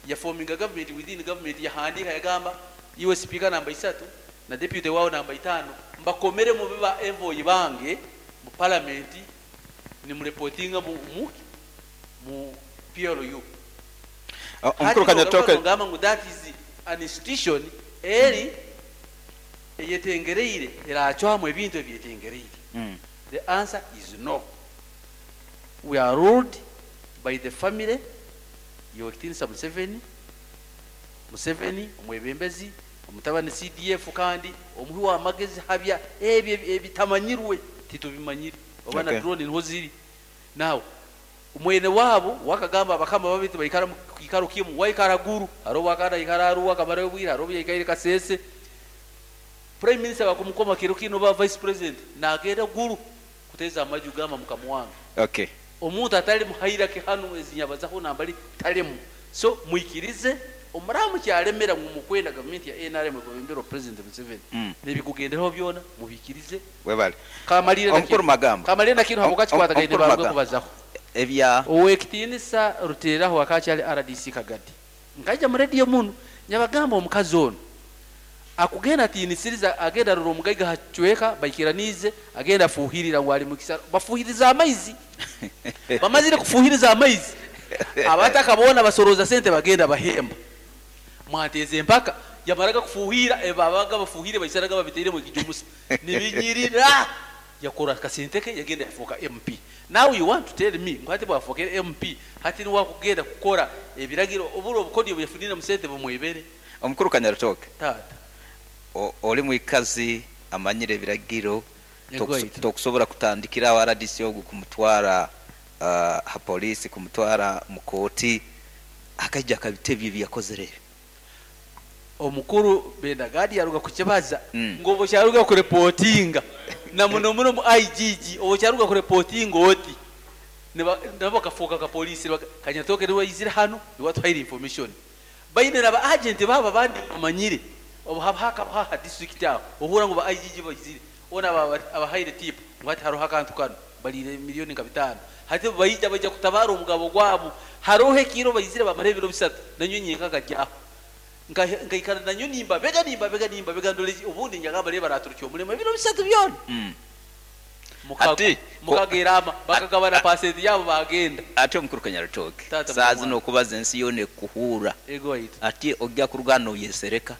yafominga government within government, yahandiika yagamba iwe Speaker namba isatu na deputy wawe namba 5 mbakomere mube ba envoy bange mu parliament nimureportinga mu PLU.
Omukuru Kanyatoke.
Ngamba ngu that is an institution eri eyetengereire eracwamu ebintu ebyetengereire. The answer is no. We are ruled by the family yokitinisa Museveni, Museveni omwebembezi, omutabani CDF kandi omuhi w'amagezi habya ebyo ebitamanyirwe titubimanyire oba na drone niho ziri. Now omwene waabo wakagamba abakama babiri baikara mu kiikaro kimu, waikara Guru, hariho wakanda aikara Arua akamarayo obwire, hariho obu yaikaire Kasese. Prime Minister bakumukoma kiro kinu oba Vice President nagenda Guru kuteeza amaju gamba mukama wange. Omuntu atali mu hierarchy hanu ezinyabazaho nambali talemu. So mwikirize omuramu kyalemera ngu mukwenda gavumenti ya NRM ekwebemberwa President Museveni. N'ebikugenderaho byona mubikirize.
Webale.
Kamalire na
Omukuru
kinu.
Magamba.
Kamalire na kinu habwokuba kikwatagaine
Omukuru
baruge
Magamba.
kubazaho.
Ebya
Owekitiinisa Ruteraho akakyali RDC Kagadi. Nkaija mu radio muno nyabagamba omukazi ono akugenda atiinisiriza agenda arora omugaiga hacweka baikiraniize agenda afuhirira ngu ali mukisa bafuhiriza amaizi bamazire kufuhiriza amaizi abataka boona basoroza sente bagenda bahemba mwateze empaka yamaraga kufuhira babaga bafuhire baisaraga babiteiremu ekijumusa nibinyirira yakora akasente ke yagenda yafuuka MP. Now you want to tell me ngu hati bwafuukire MP hati niwe akugenda kukora ebiragiro oburo obukodyo bweyafunire mu sente bumwebere.
Omukuru Kanyarutooke.
Taata.
Oli mwikazi amanyire ebiragiro.
Yego aita.
Tokusobora kutandikira aho RDC ogu kumutwara ha polisi, kumutwara mu kooti, akaija akabitebyo ebi yakozere ebi.
Omukuru Bendagadi yaruga kukibaza ngu obu kyaruga kurepotinga na muno muno mu IGG obu kyaruga kurepotinga oti nabo bakafuuka ka polisi Kanyatoke niwe yaizire hanu niwe atuhaire information baine na ba agent babo abandi bamanyire obu haba hakabaho aha district aho ohurra ngu ba IGG baizire ona abahaire tip ngu hati haroho akantu kanu baliire miliyoni nka 5 hati baija baija kutabara omugabo gwabo haroho ekiro baizire bamara ebiro 3 nanyo nyenka nkajyaho nkaikara nanyo nimba bega nimba bega nimba bega ndole obundi njagamba reba raturukye omurimo ebiro 3 byona.
Ati,
Mukagerama bakagabana pasenti yabo bagenda.
Ati omukuru Kanyarutooke.
Taata
Saa
mwana.
zino okubaza ensi yoona ekuhuura.
Ego waitu.
Ati ojja kuruga noyesereka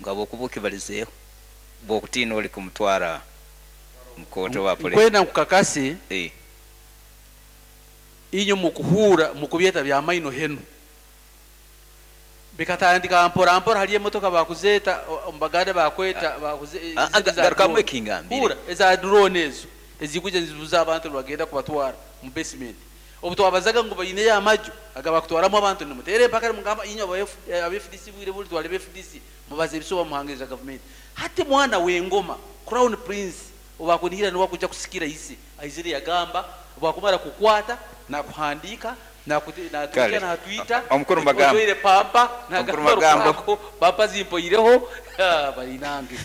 nga bwokuba okibalizeeho bwokutiina oli kumutwara mu kooti oba polisi.
Nkwenda nkukakase. Inyo mukuhuura mukubyeta bya maino henu bikatandika mpora mpora hali emotoka bakuzeeta omubaganda bakweta bakuze eza
Garukamu
drone.
ekingambire.
Huura eza drone ezo ezikuja nizibuza abantu bagenda kubatwara mu basement obu twabazaga ngu baineyo amaju agabakutwaramu abantu nimutere empaka mugamba inyo aba FDC bwire buli twale aba FDC mubaze ebisuba muhangiriza gavumenti hati mwana w'engoma Crown Prince obakunihira niwe akuja kusikira ise aizire yagamba bwakumara kukwata. Nakuhandiika,
Kale.
natuukya na ha Twitter,
Omukuru Magambo.
ojwaire pampa,
Omukuru
nagamba
Magambo.
Rukwako, pampa zimpoireho, bainange.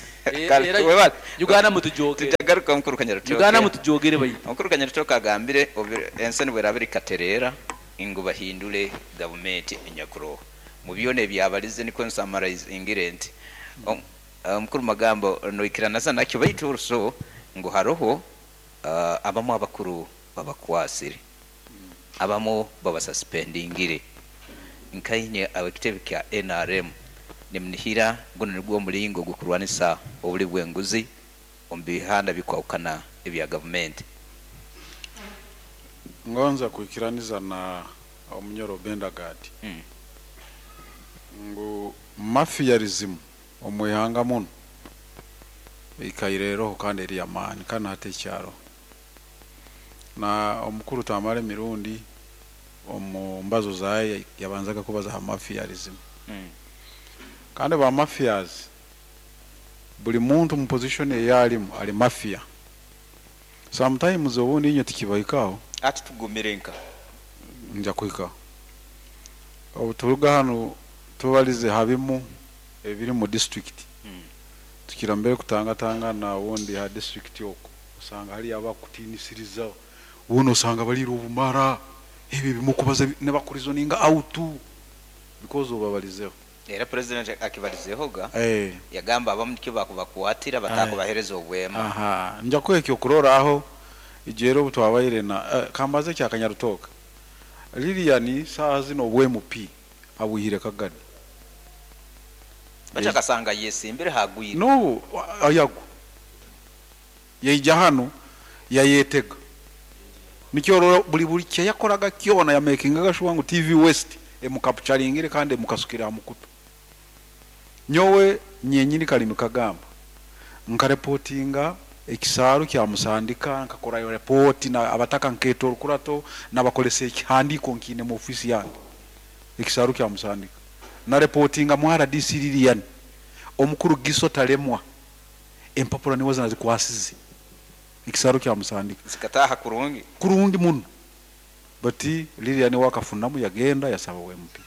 Kale,
Era
webale.
Uganda mutujogere.
Tujagaruka omukuru Kanyarutooke.
Uganda mutujogere baitu.
Omukuru Kanyarutooke agambire ensi nibweraba erikatereera ngu bahindule gavumenti enyakuroho. Mu byona ebyabalize nikwo nsamaraizingire nti omukuru Magambo noikiranaza nakyo, baitu also ngu haroho abamu abakuru babakwasire, abamu babasuspendingire. Nkainye ab'ekitebe kya NRM nimunihira guno nigwo omulingo gw'okurwanisa obuli bw'enguzi omu bihanda bikwahukana ebya gavumenti.
Ngonza kwikiraniza na omunyoro Bendagad ngu mafiarism omwihanga muno ikaireroho kandi eri amaani kandi hati ekyaro na omukuru Tamale Mirundi omu mbazo zaye yabanzaga kubaza ha mafiarism. Kandi ba mafias buli muntu mu position eyalimu ali mafia. Sometimes obundi inye tikibahikaho.
Ati tugumire nka
nja kuhikaho. Obu turuga hano tubalize habimu ebiri mu district. Tukira mbere kutangatangana ubundi ha district oko usanga hari abakutinisiriza, ubundi usanga barira ubumara ibi bimukubaza nebakurizoninga out because ubabalizeho.
Era president akibalizehoga yagamba abamu nikyo bakubakwatira batakubahereza obwema.
Aha, nja kwekyo kurora aho ijero obutwabaire na kambaze kya Kanyarutoka Lilian saha zino obwe MP abuhire Kagadi.
Bacha kasanga yesimbire hagwire.
No, ayago. Yaija hano yayetega. Nikyo rora buli kye yakoraga kyona ya makingaga sure ngu TV West emukapturingire kandi emukasukira mukutu. Nyowe nyenyini kalimi kagamba nkareportinga ekisaaru kya Musandika, nkakora yo report na abataka nketo orukurato nabakolesa ekihandiko nkine mu ofisi yange ekisaaru kya Musandika na reportinga mu RDC Lilian omukuru Giso Talemwa empapura niwe zinazikwasize ekisaaru kya Musandika
zikataha kurungi
kurungi muno, bati Lilian wakafunamu yagenda yasaba MP.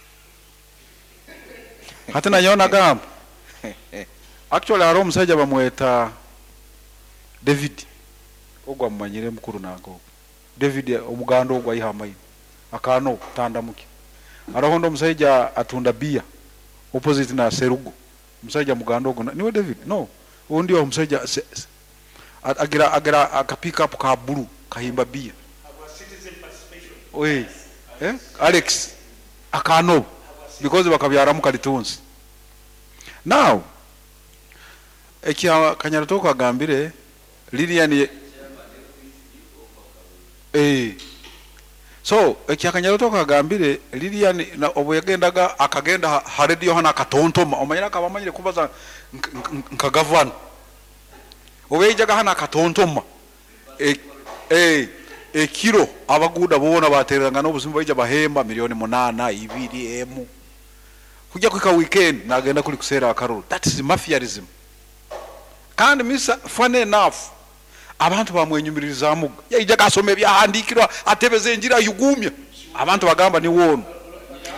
Hata nanyo nagamba actually hariho omusajja bamweta David ogwa mumanyire mukuru nango David omuganda ogwa ihamaine akano tandamuki. Hariho ndo omusajja atunda bia opposite na Serugo, omusajja muganda ogwo niwe David no undi omusajja agira aka pick up ka blue kahimba bia oye Alex akano because bakabyaramu kalitunsi. Now ekya Kanyarutoka agambire Lilian so ekya Kanyarutoka agambire Lilian na obu yagendaga akagenda ha radio hana akatontoma omanyira akabamanyire kubaza nka governor obu yajaga hana akatontoma ekiro abaguda bona batereranga n'obuzima baija bahemba milioni 8 2 emu kujya kwika weekend nagenda kuli kusera akaruru. That is mafiarism. Kandi misa funny enough abantu bamwenyumiririza muga yaija kasome byahandikirwa atebeze enjira yugumya abantu bagamba ni wono.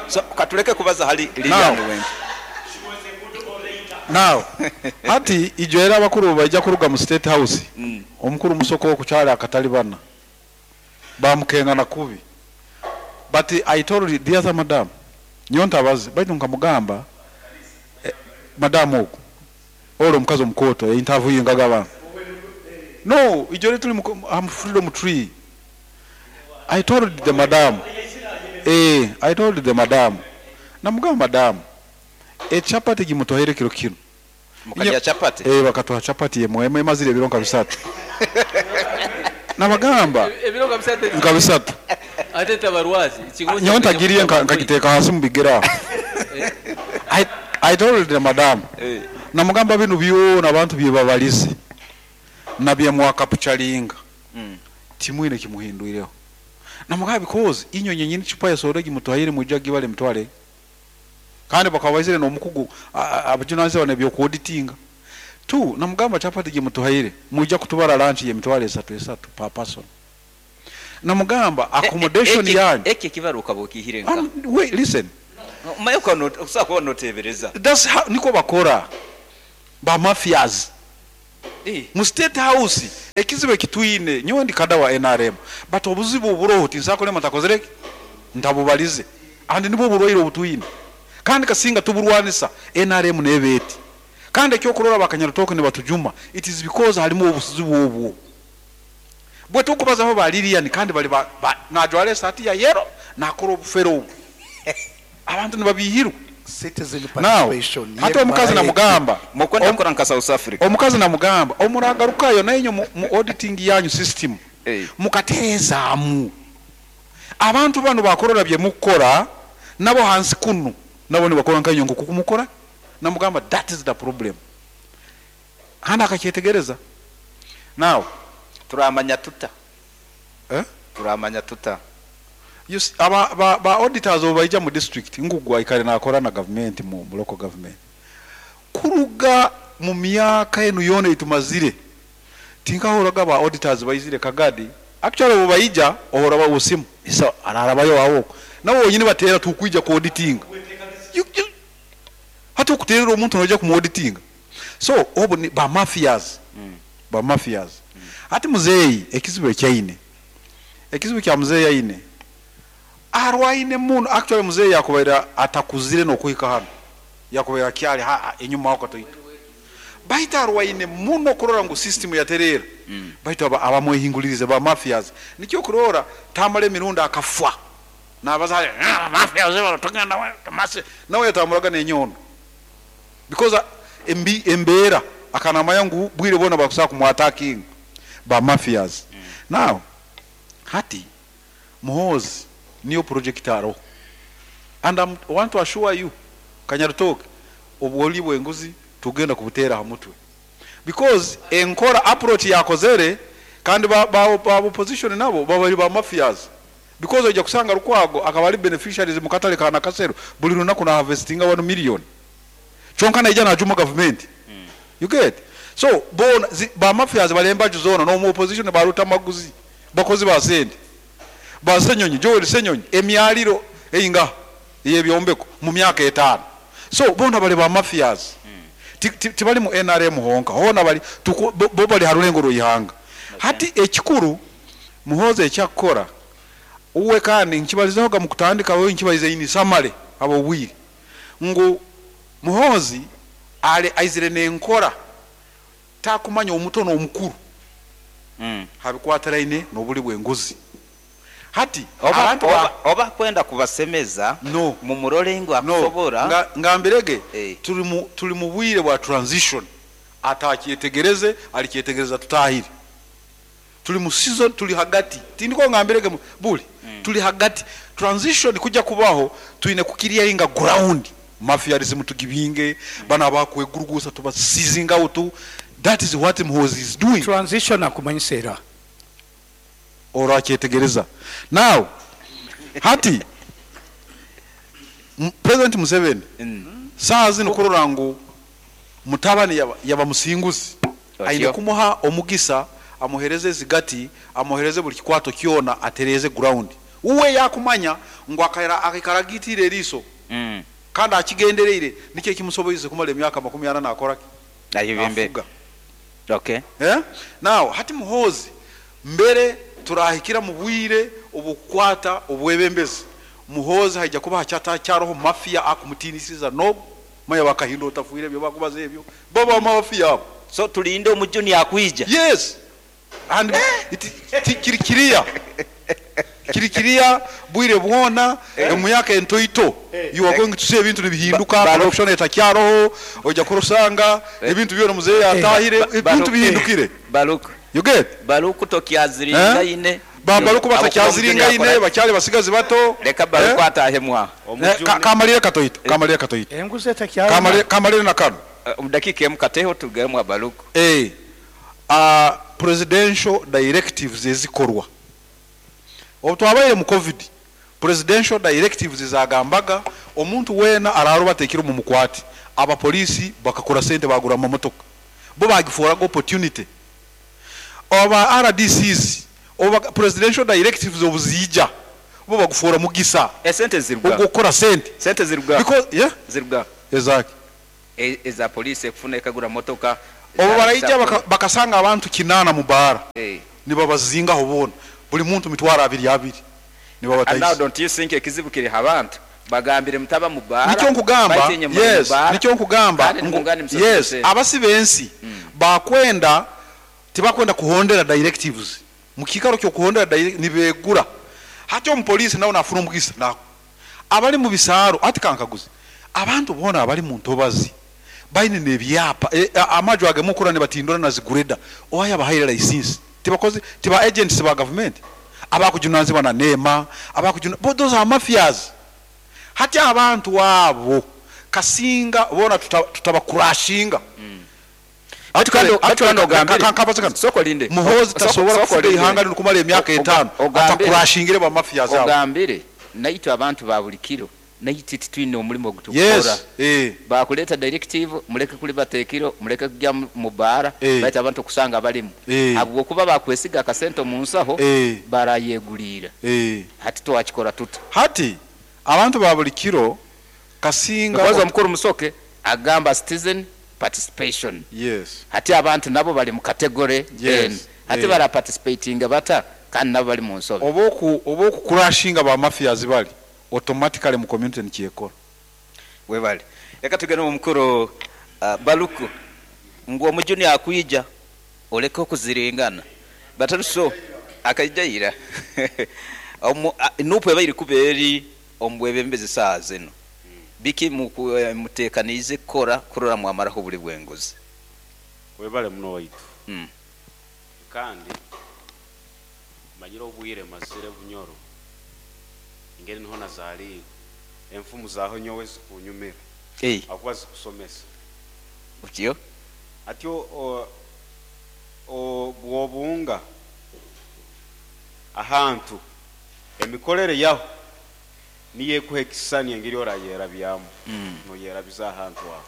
So katuleke kubaza hali Lilian wengi
now hati ijoera abakuru bajja kuruga mu State House. Omukuru musoko okukyala akatali bana bamukenga na kubi, but I told the other madam nyonta bazi baitu nkamugamba madam oku olo omukazi omukoto interview ngaga abantu no ijore tuli am freedom tree. I told the madam I told the madam namugamba madam echapati gimutohere kiro kino
mukalya chapati
bakatoha chapati yemwe mazire ebiro nka bisatu nabagamba
ebiro nka bisatu
nka bisatu
ate tabarwazi
nyonta giriye nkagiteka hasi mubigera. I told the madam namugamba binu byona abantu byebabalize nabye mwakapuchalinga timwine kimuhinduireho namugamba because inyonye nyini chupa ya soda gimutohaire mujagi bale mutwale kandi bakabaizire no mukugu abajunanze bane byo kuauditinga tu namugamba chapati gimutohaire mujja kutubara lunch ye mitwale 3 per person. Namugamba accommodation yanyu.
Eki ekibaruha okaba okiihire nkaha?
Wait, listen.
Manya okusobola kuba noteebereza.
That's how nikwo bakora ba mafias. Mu state house ekizibu ekitwine nyowe ndi kada wa nrm but obuzibu oburoho tinsobola kulema ntakozire ki? Ntabubalize and nibwo oburwaire obutwine kandi kasinga tuburwanisa nrm neeba eti kandi ekyokurora ba Kanyarutooke nibatujuma it is because harimu obuzibu obwo. Bwe tukubazaho ba Lilian kandi bari ba ba najwara esaati ya yellow nakora obufere obu abantu nibabiihirwa.
Citizen
Now
participation
hati omukazi
yemara eti.
namugamba
Mukwenda kukora nka South Africa.
omukazi namugamba omuragarukayo nainywe mu mu auditing yanyu system mukatereezaamu abantu banu bakurora byemukukora nabo hansi kunu nabo nibakora nkainywe nkoku kumukora namugamba that is the problem Kandi akakyetegereza. Now.
Turamanya tuta?
Eh?
Turamanya tuta?
You see, aba, ba, ba auditors obu baija mu district, ngu aikare nakora na government mu, mu local government. Kuruga mu myaka enu yoona ei tumazire, tinkahurraga ba auditors baizire Kagadi. Actually obu baija, ohurra ba osimu, isa ararabayo aho oku. Nabo bonyini bateera tukwija ku auditinga. You, you, Hati okuteerera omuntu noija kumu auditinga? So obu ni ba mafias, ba mafias. Hati muzeeyi ekizibu eki aine, ekizibu kya muzeeyi aine, arwaine muno, actually muzeeyi yakubaire atakuzire nokuhika hanu, yakubaire akyari ha enyuma aho katoito. Baitu arwaine muno kurora ngu system yatereera, baitu abamwehingulirize ba mafias. Nikyo okurora tamara emirundi akafwa. Nabaza hati nawe yatamburaga nenyondo because embi embeera akaba namanya ngu bwire bwona bakusobola kumu attackinga ba mafias. Now hati Muhoozi niyo project aroho and am want to assure you Kanyarutooke obwori bwenguzi tugenda kubuteera aha mutwe because enkora approach yakozere kandi ba ba opposition nabo baba ba mafias. Because oija kusanga Lukwago akaba ari beneficiaries mu katare ka Nakasero buri runaku na harvestinga one million kyonka naija najuma gavumenti you get so boona zi ba mafias bari embaju zoona nomu opposition ba Lutamaguzi bakozi ba sente ba Ssenyonyi Joel Ssenyonyi emyariro eingaha eyebyombeko mu myaka etaano so boona bari ba mafias ti ti tibari mu nrm honka hoona bari tuku bo bari ha rurengo rweihanga hati ekikuru Muhoozi eki akukora uwe kandi nkibalizehoga mukutandika we nkibalize in summary habw'obwire ngu Muhoozi ali aizire n'enkora takumanya omuto n'omukuru habikwatiraine n'obuli bw'enguzi. Hati
Oba
abantu ba.
oba oba akwenda kubasemeza
No.
mumurole ngu
No.
akusobora.
Nga ngambirege
Eh.
turi mu turi mu bwire bwa transition atakyetegereze alikyetegereza tutahire. Turi mu season turi hagati tindiko ngambirege buri turi hagati transition kujya kubaho twine ku clearinga ground mafiarism tugibinge bana abakwegurugusa tuba seizing out that is what Muhoozi is doing.
Transition akumanyisa era.
Orakyetegereza now hati President Museveni saaha zinu kurora ngu mutabani yaba yaba musinguzi aine
Otyo.
kumuha omugisa amuhereze ezigati amuhereze buri kikwato kyona atereeze ground. Uwe yakumanya ngu akaira akaikara agiitiire eriiso kandi akigendereire nikyo ekimusoboize kumara emyaka 40 nakora ki?
Ayebembere.
Nafuga.
Okay.
Eh? Now hati Muhoozi mbere turahikira mu bwire obw'okukwata obwebembezi Muhoozi haija kuba hakyatakyariho mafia akumutiinisiza n'ogu manya ba Kahinda otafwire ebyo bakubaza ebyo bo ba mafia abo.
So tulinde omujuni akwija.
Yes and it, ti, kiri kiriya kiri kiriya bwire bwona omu myaka entoito you are going to see ebintu nibihinduka corruption etakyaroho oija kurusanga ebintu byona muzeeyi yatahire ebintu bihindukire.
Baruku.
You get?
Baruku tokyaziringaine.
Ba Baruku batakyaziringaine bakyali basigazi bato.
Leka Baruku atahemu aho.
Kamalire katoito. Kamalire katoito.
Enguzi etakyarema.
Kamalire na kano.
Omu dakiika emu kateho tugarukemu aha Baruku.
Eh. Presidential directives ezikorwa. Obu twabaire mu covid, presidential directives zagambaga omuntu weena araaroba ateekire omu mukwate. Abapoliisi bakakora sente baagura amamotoka. Bo baagiforaga opportunity. Aba RDCs Obu presidential directives obu ziija, bo bagufuura mugisa
Esente ziruga.
ogw'okukora sente.
Sente ziruga.
Because, yeah?
Ziruga.
Ezaki?
Eza police ekufuna ekagura motoka.
Obu baraija bakasanga abantu kinaana mu baara, nibabazingaho boona, buli muntu mitwaro abiri abiri,
And now
nibabatahisa.
don't you think ekizibu kiri ha bantu? Bagambire mutaba mu baara,
Nikyo nkugamba,
baitu inye muri mu
yes,
baara,
nikyo nkugamba
kandi
ngu,
nimungane musasule
yes,
sente.
abasi b'ensi bakwenda, tibakwenda kuhondera directives. Mu kiikaro ky'okuhondera direct, nibeegura. Hati omupoliisi nawe naafuna omugisa, na abali mu bisaaro, hati kankaguze, abantu boona abali mu ntobazi baine n'ebyapa, amaju agemukura nibatindura na zigureda, owaye abahaire license, tibakozi, tiba agents ba government, abakujunanizibwa na NEMA, abakujuna, but those are mafias. Hati abantu abo kasinga bona tutabakurashinga.
Actually,
Actually,
actually, ogambire.
kankabaze kano.
Soko linde.
Muhoozi tasobola
Soko
kufuga
linde.
ihanga lino kumara emyaka etaano,
Ogambire.
atakurashingire ba mafias abo.
Ogambire naitwe abantu ba buli kiro naitwe titwine omurimo ogutukukora.
Yes,
Bakuleeta directive muleke kulibata ekiro, muleke kujya mu baara, baitu abantu okusanga balimu. Habwokuba bakwesiga akasente omu nsaho, barayeguriira. Hati twakikora tuta?
Hati abantu ba buli kiro kasinga
Because omukuru Musoke agamba citizen participation.
Yes.
Hati abantu nabo bali mu category
Yes.
N. Hati bara participating bata kandi nabo bali mu nsobi.
Oba okukurashinga ba mafias bali automatically mu community nikyekora.
Webale. Reka tugende mu mukuru Baluku. Ngu omujuni akwija oleke okuziringana. Bataruso akaijaira. Nupu ebairi kuba eri omubwebembezi saa zino. Biki mutekaniize kukora kurora mwamaraho buli bwenguzi.
Webale muno waitu. Kandi manyire obwire mazire bunyoro. Engeri niho nazaaliirwe. Enfumu zaaho nyowe zikunyumira. Akuba zikusomesa.
Otyo?
Atyo bw'obunga ahantu emikorere yaho niyo ekuha ekisani engeri orayerabyamu. Noyerabiza ahantu aho.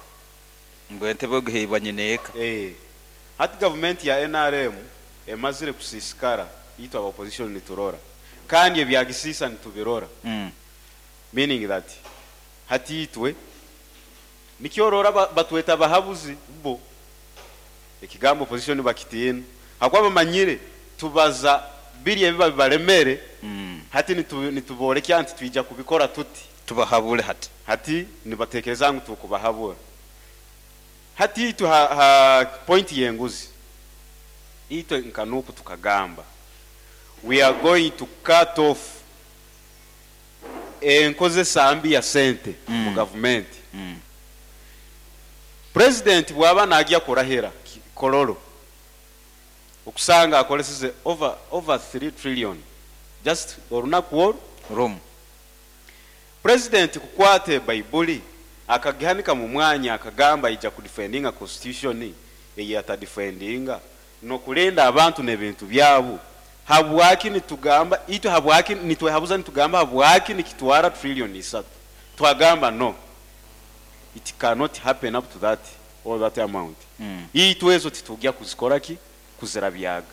Ngu entebe ogiheibwa nyina eka.
Hati gavumenti ya NRM emazire kusiisikara, itwe aba opposition niturora. Kandi ebyagisisa nitubirora. Meaning that hati itwe nikyorora batweta abahabuzi bo. Ekigambo opposition bakitiina. Hakuba bamanyire tubaza biri ebiba bibaremere. Hati nituborekya nti twija kubikora tuti.
Tubahabure hati.
Hati nibatekereza ngu tukubahabura. Hati itwe ha point yenguzi. Itwe nkanuku tukagamba. We are going to cut off enkozesa mbi ya sente mu government. President bwaba najya kurahira Kololo okusanga akoleseze over 3 trillion just olunaku olwo
Rome.
President kukwate Baibuli akagihanika mu mwanya akagamba ija kudefendinga constitution eye atadefendinga no kulinda abantu n'ebintu byabo. Habwaki nitugamba itwe, habwaki nitwehabuza nitugamba habwaki nikitwara trillion isatu. Twagamba no, it cannot happen up to that or that amount. Itwe ezo titujya kuzikora ki kuzirabyaga.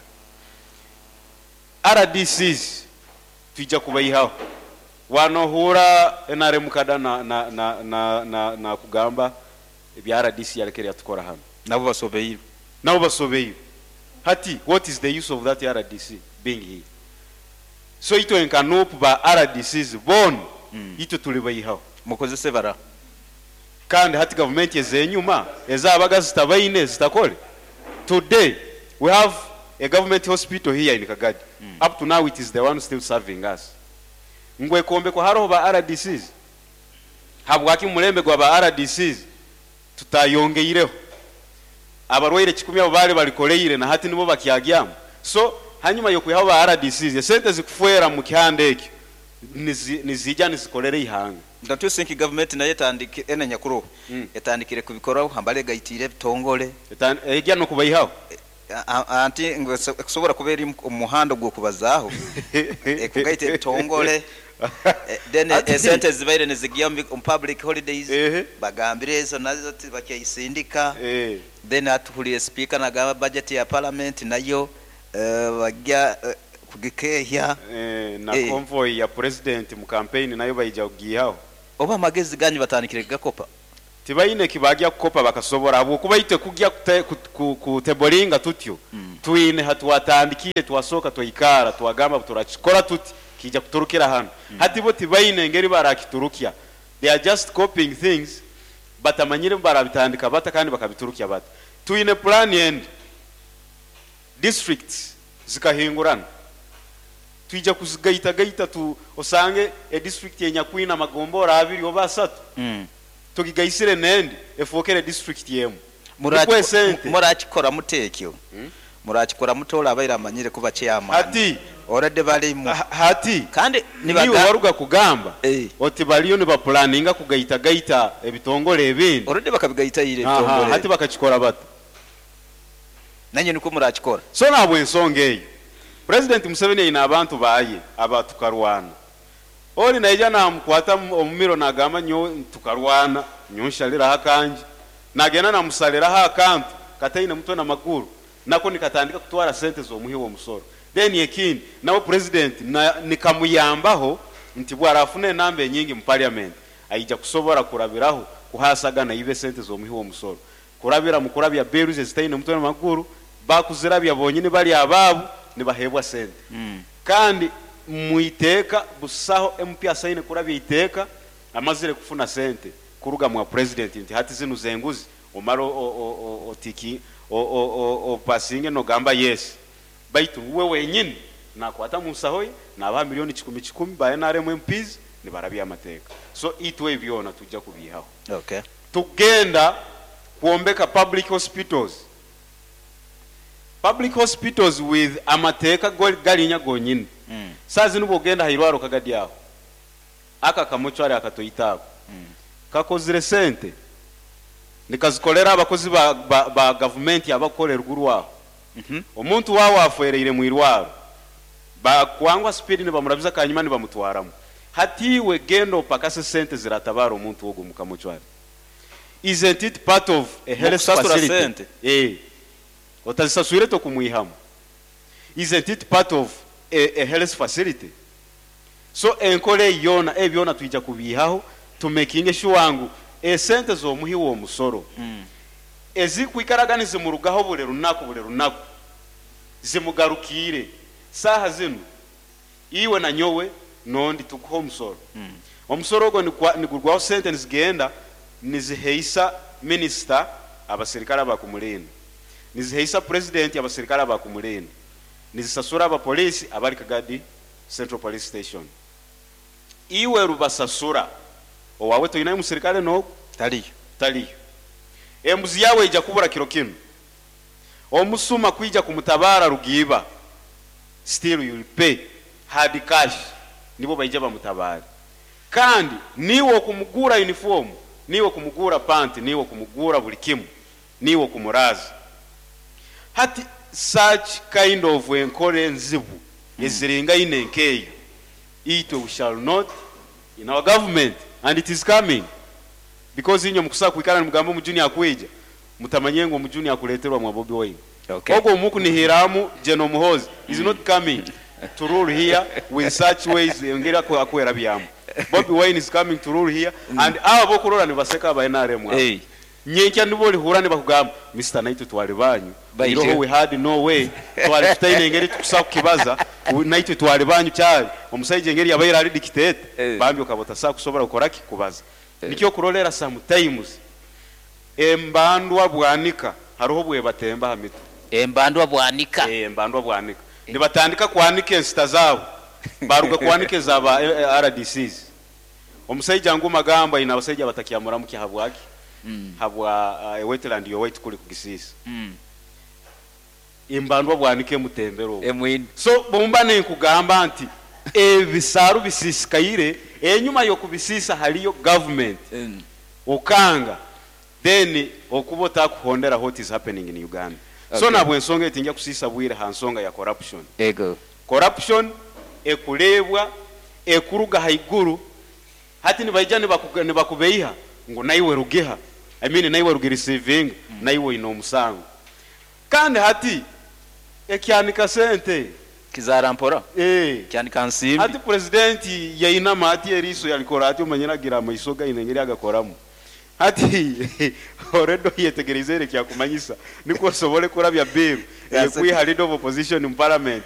RDCs tujya kubayihaho. Wanohura NRM kada na kugamba ebya RDC yarekere yatukora hano.
Nabo basobeire.
Nabo basobeire. Hati what is the use of that RDC being here? So itwe nkanupu ba RDCs bon itwe tulibayihaho.
Mukozese bara.
Kandi hati government ezenyuma ezabaga zitabaine zitakole. Today we have a government hospital here in Kagadi. Up to now it is the one still serving us. Ngwe kombe kwa haroho ba RDCs. Habwaki mulembe gwa ba RDCs tutayongeireho. Abarwaire kikumi abo bali balikoleire na hati nibo bakyagyamu. So hanyuma yo kwihaho ba RDCs esente zikufuera mu kihande ekyo nizijja nizikolere ihanga.
Don't you think government nayo etandike ene nyakuru etandikire kubikoraho hambale gaitire bitongole
ejya no kubayihaho.
Anti ngo kusobora kuba eri omuhanda gw'okubazaaho. Ekugaita ebitongole. Then esente zibaire nizigiya mu public holidays. Bagambire ezo nazo bakyayisindika. Then atuhulire speaker nagamba budget ya parliament nayo bajya Kugikeehya.
Na convoy ya Purezidenti mu kampeyini nayo baija kugiihaho.
Oba amagezi ganyu batandikire kugakopa?
Tibaine eki baagya kukopa bakasobora habwokuba itwe kugya kuteboringa tutyo twine hatwatandikiire twasooka twaikaara twagamba ngu turakikora tuti kiija kuturukira hanu. Hati bo tibaine ngeri barakiturukya they are just copying things batamanyire ngu barabitandika bata kandi bakabiturukya bata. Twine pulaani endi. Districts zikahingurana twija kuzigaitagaita tu osange e district enyakwine amagombora abiri oba asatu tugigaisire nendi efookere district emu nikwo esente.
Murakikora muta ekyo? Murakikora muta ole abaire amanyire kuba chairman?
Hati
Already barimu.
Hati
Kandi
niiwe waruga kugamba oti bariyo nibapulaninga kugaitagaita ebitongore ebindi.
Already bakabigaita ira ebitongore.
Hati bakakikora bata?
Nanye nikwo murakikora.
So nahabw'ensonga eyo, Purezidenti Museveni aine abantu baaye aba tukarwana. Ori naija namukwata omu miro nagamba nyowe tukarwana, nyowe nshariraho akangye. Nagenda namusariraho akantu kataine mutwe na maguru, nako nikatandika kutwara sente z'omuhi w'omusoro. Then ekindi, nawe Purezidenti nikamuyambaho nti bwarafuna enamba enyingi mu parliament, aija kusobora kurabiraho kuhaasagana iba esente z'omuhi w'omusoro. Kurabira mu kurabya bills ezitaine mutwe na maguru, bakuzirabya bonyini bari abaabo nibaheebwa sente. Kandi mu iteeka busaho MP asaine kurabya iteeka amazire kufuna sente kuruga mwa president nti hati zinu z'enguzi omare otiki opasinge nogamba yes. Baitu we wenyini nakwata mu nsaho ye nabaha milioni kikumi kikumi ba nrm MPs nibarabya amateeka. So itwe ebi byona tujja kubiihaho. Tugenda kwombeka public hospitals, public hospitals with amateeka garinya gonyini. Saaha zinu bwogenda aha irwariro Kagadi aho, aka akamochwari akatoito ako kakozire sente nikazikorera abakozi ba ba gavumenti abakukora eruguru aho. Omuntu waawe afwereire mu irwaro, bakwangwa sipiidi nibamurabiza kanyima nibamutwaramu. Hati iwe genda opakase sente ziratabaara omuntu ogwo omu kamochwari. Isn't it part of a health
Mukusasura
facility?
sente.
Eeh. Otazisaswire tokumwihamu. Isn't it part of a, a health facility? So enkora eyi yoona, ebi byona twija kubiihaho tumekinge sure ngu esente z'omuhi w'omusoro ezikwikaraga nizimurugaho buri runaku buri runaku zimugarukiire. Saaha zinu Iwe na nyowe n'ondi tukuha omusoro. Omusoro ogwo nigurwaho sente nizigenda niziheisa minisita abasirikare abakumurinda, niziheisa purezidenti abasirikare abakumurinda, nizisasura abapoliisi abari Kagadi Central Police Station. Iwe rubasasura, owaawe toinayo musirikare n'ogwo?
Tariyo.
Tariyo. Embuzi yaawe eija kubura kiro kinu. Omusuma kwija kumutabaara rugiiba. Still you will pay hard cash nibo baija bamutabaare kandi niiwe okumuguura uniform niiwe okumuguura pant niiwe okumuguura buri kimu niiwe okumuraaza hati such kind of enkora enzibu eziringaine nkeeyo itwe we shall not in our government and it is coming because inywe mukusobola kwikara nimugamba omujuni akwija Mutamanye ngu omujuni akureterwa mwa Bobi Wine.
Okay.
Ogwo omukunihiramu General Muhoozi is not coming to rule here with such ways engeri akwerabyamu. Bobi Wine is coming to rule here and abo abokurora nibaseka aba nrm abo.
Hey.
Nyenkya nibo orihurra nibakugamba Mister naitwe twari banyu,
Baije.
iroho we had no way, twari tutaine engeri tukusa kukibaza, naitwe twari banyu kyari omusaija engeri yabaire ari dictator
Eh.
bambi okaba otasa kusobora kukoraki kubaza.
Eh.
Nikyo okurorera sometimes Embandwa bwanika haroho obwebatemba aha mitwe.
Embandwa bwanika.
Eeh embandwa bwanika. Nibatandika kwanika ensita zaabo baruga kwanika eza ba RDCs. Omusaija ngu Magamba aine abasaija abatakyamuramukia habwaki? Habwa ewetland yowaitu kuri kugisiisa. Embandwa bwanika emutembere obwo.
Emwine.
So bwomba ninkugamba nti ebisaaru bisiisikaire, enyuma yokubisiisa hariyo government. Okanga then okuba otakuhondera what is happening in Uganda. So
Okay.
nahabwensonga eyo tingya kusiisa bwire ha nsonga ya corruption.
Ego.
Corruption ekureebwa ekuruga haiguru hati nibaija nibakubeiha ngu naiwe rugiha I mean naiwe rugireceivinga naiwe oine omusango. Kandi hati ekyanika sente.
Kizaara mpora.
Eh.
Kyanika nsimbi.
Hati purezidenti yainama ati eriiso yarikora ati omanyire agira amaiso ge aine engeri agakoramu. Hati already oyetegerize ere kyakumanyisa nikwo osobole kurabya bill eyekwiha leader of opposition mu parliament.